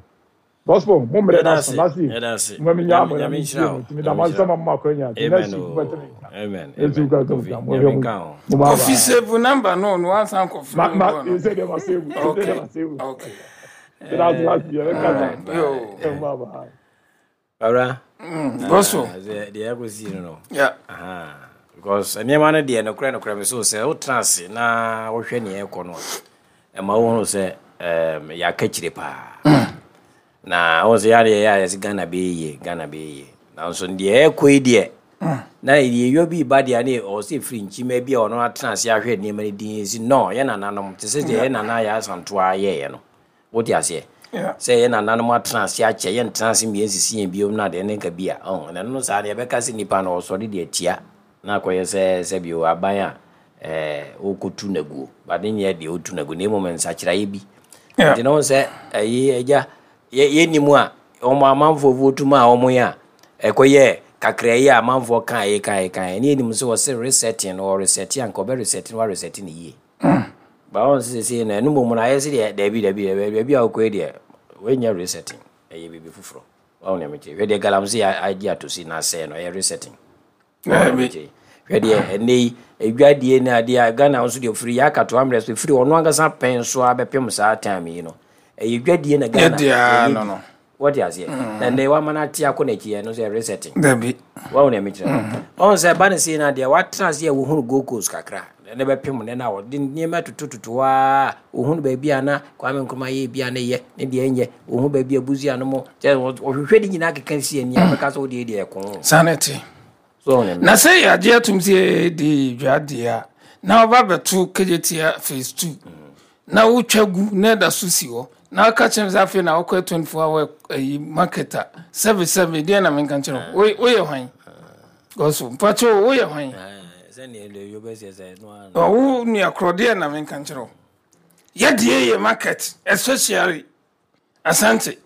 gospel mo mmerɛ na so last year? Yɛda ase. Mo mi nya mo na Nyame mi nhyira tie wo. mo tumi da ma nsɛm a mo akɔnya nti Amen. next week O mo bɛtɛ mi nka. Amen. Etu Amen. ka to Kofi nka mo Nyame hwɛ mo nka ho. mo ba Kofi ba save number no no wansan kɔfrɛ ma wo ma bɔ no. Ɛsɛ deɛ ma save, ɛsɛ Okay. deɛ ma save. Okay. That's last year bɛ kasa. Alright. Yo. Ɛ mo ba ba. Bawura. Mm, Gospel. Deɛ ɛkɔsii no no Yeah. Aha. Because nneɛma no deɛ, nokorɛ nokorɛ me so sɛ wotena ase na wohwɛ neɛ ɛkɔ no a, ɛma wohunu sɛ um, yɛaka kyire paa na wohu sɛ yɛadeɛ yɛ a yɛsɛ Ghana bɛyɛ yie, Ghana bɛyɛ yie, nanso deɛ ɛkɔ yi deɛ na yɛyɔ bi ba deɛ ne ɔwɔ sɛ ɛfiri nkyima bi a ɔno atena ase ahwɛ nneɛma no din si no, yɛ nananom te sɛ deɛ yɛ nana yɛ asantoa yɛɛyɛ no, wote aseɛ? Yeah. Sɛ yɛ nananom atena ase akyɛ, yɛntena ase mmea nsisi yɛn biom no adeɛ ne nka bi a ɔn na ɛno no saa no yɛbɛka sɛ nipa no ɔsɔre deɛ tia na akɔyɛ sɛ sɛbio aban a ɛɛ wokɔtu naguo bade nyɛ deɛ wotu naguo na mmom nsakyeraeɛ bi. Yeah. Nti na wo sɛ ɛyi agya yɛ- yɛnim a ɔmo amanfoɔ votu mu a ɔmo yɛ a ɛkɔyɛ kakra yi a amanfoɔ kaeɛ kaeɛ kaeɛ ne yɛnim sɛ wɔsɛ resetting no, ɔreset a nka ɔbɛ reset no, wareset no yie ba wɔn sɛ sɛ no ɛno mmom no ayɛ sɛ deɛ daabi daabi daabi baabi a wokɔ yi deɛ wɔnyɛ resetting, ɛyɛ biribi foforɔ. Wɔn nea mekyerɛ, hwɛ deɛ galamsey agye ato si na asɛe no, ɛyɛ resetting. Daabi. Hwɛ deɛ ɛnɛ yi edwadie ne adeɛ a Ghana nso deɛ ofiri yɛ akato amrɛ so firi ɔno ankasa pɛn so abɛpem saa time yi no, ɛyɛ dwadie na Ghana Yɛde a ɛyɛ no bi. no. Wɔte aseɛ? Na nnɛ wama no ate akɔ n'akyi, ɛno nso yɛ resetting. Dabi. Wɔn nea mekyerɛ ɔn sɛ ɛba ne sei na deɛ watena ase a wohunu Gold Coast kakra ne bɛpem ne na wɔde nneɛma totototo a wohunu baabi a na Kwame Nkrumah yɛ bi a ne yɛ ne deɛ nyɛ, wohunu baabi a busia no mo kyɛ wɔhwehwɛ de nyinaa keka si ani a bɛka sɛ wodeɛ deɛ ɛko. Saa na ɛte. So wɔn nea Na sɛ yɛagye atom sɛ yɛde dwadeɛ a na wɔba bɛto Kejetia phase two na wotwa gu na ɛda so si hɔ na woka kyerɛ me sɛ afei na wokɔ twenty-four hour ayi market a, sɛbe sɛbe, deɛ na menka nkyerɛ wo? Woyɛ hwan? Gɔso mpakyɛ, woyɛ hwan? Sɛneɛ deɛ yɛbɛsɛ sɛ no ara. Ɔwo nua korɔ, deɛ na menka nkyerɛ wo? Yɛdeɛ yɛ market, especially Asante.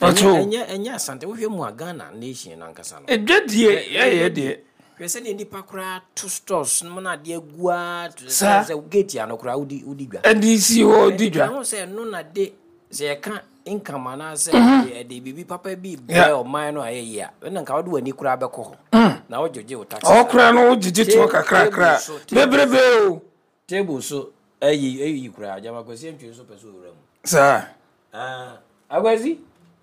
ɛnyɛ Ɔkyɛ ɛnyɛ ɛnyɛ Asante, wohwɛ mu a Ghana nation no ankasa no. ɛdwadie yɛyɛ deɛ. Hwɛ sɛdeɛ nnipa koraa to stores no mu no, adeɛ gua Saa. sɛ gate ano koraa wodi wodi dwa. Ɛde si hɔ di dwa. Ɛho sɛ ɛno na de sɛ yɛka income anaasɛ ɛde biribi papa bi brɛ Yeah. ɔman no a, ɛyɛ yie a, ɛna nka wode w'ani koraa bɛkɔ hɔ na wogyegye wo tax. Ɔwɔ koraa no wogyegye toɔ kakrakra Table so, table bebrebe o. Table so ayi ayi koraa, gyama Kwasi Antwi nso pɛ sɛ ɔwura mu. Saa. Ah, Akwasi.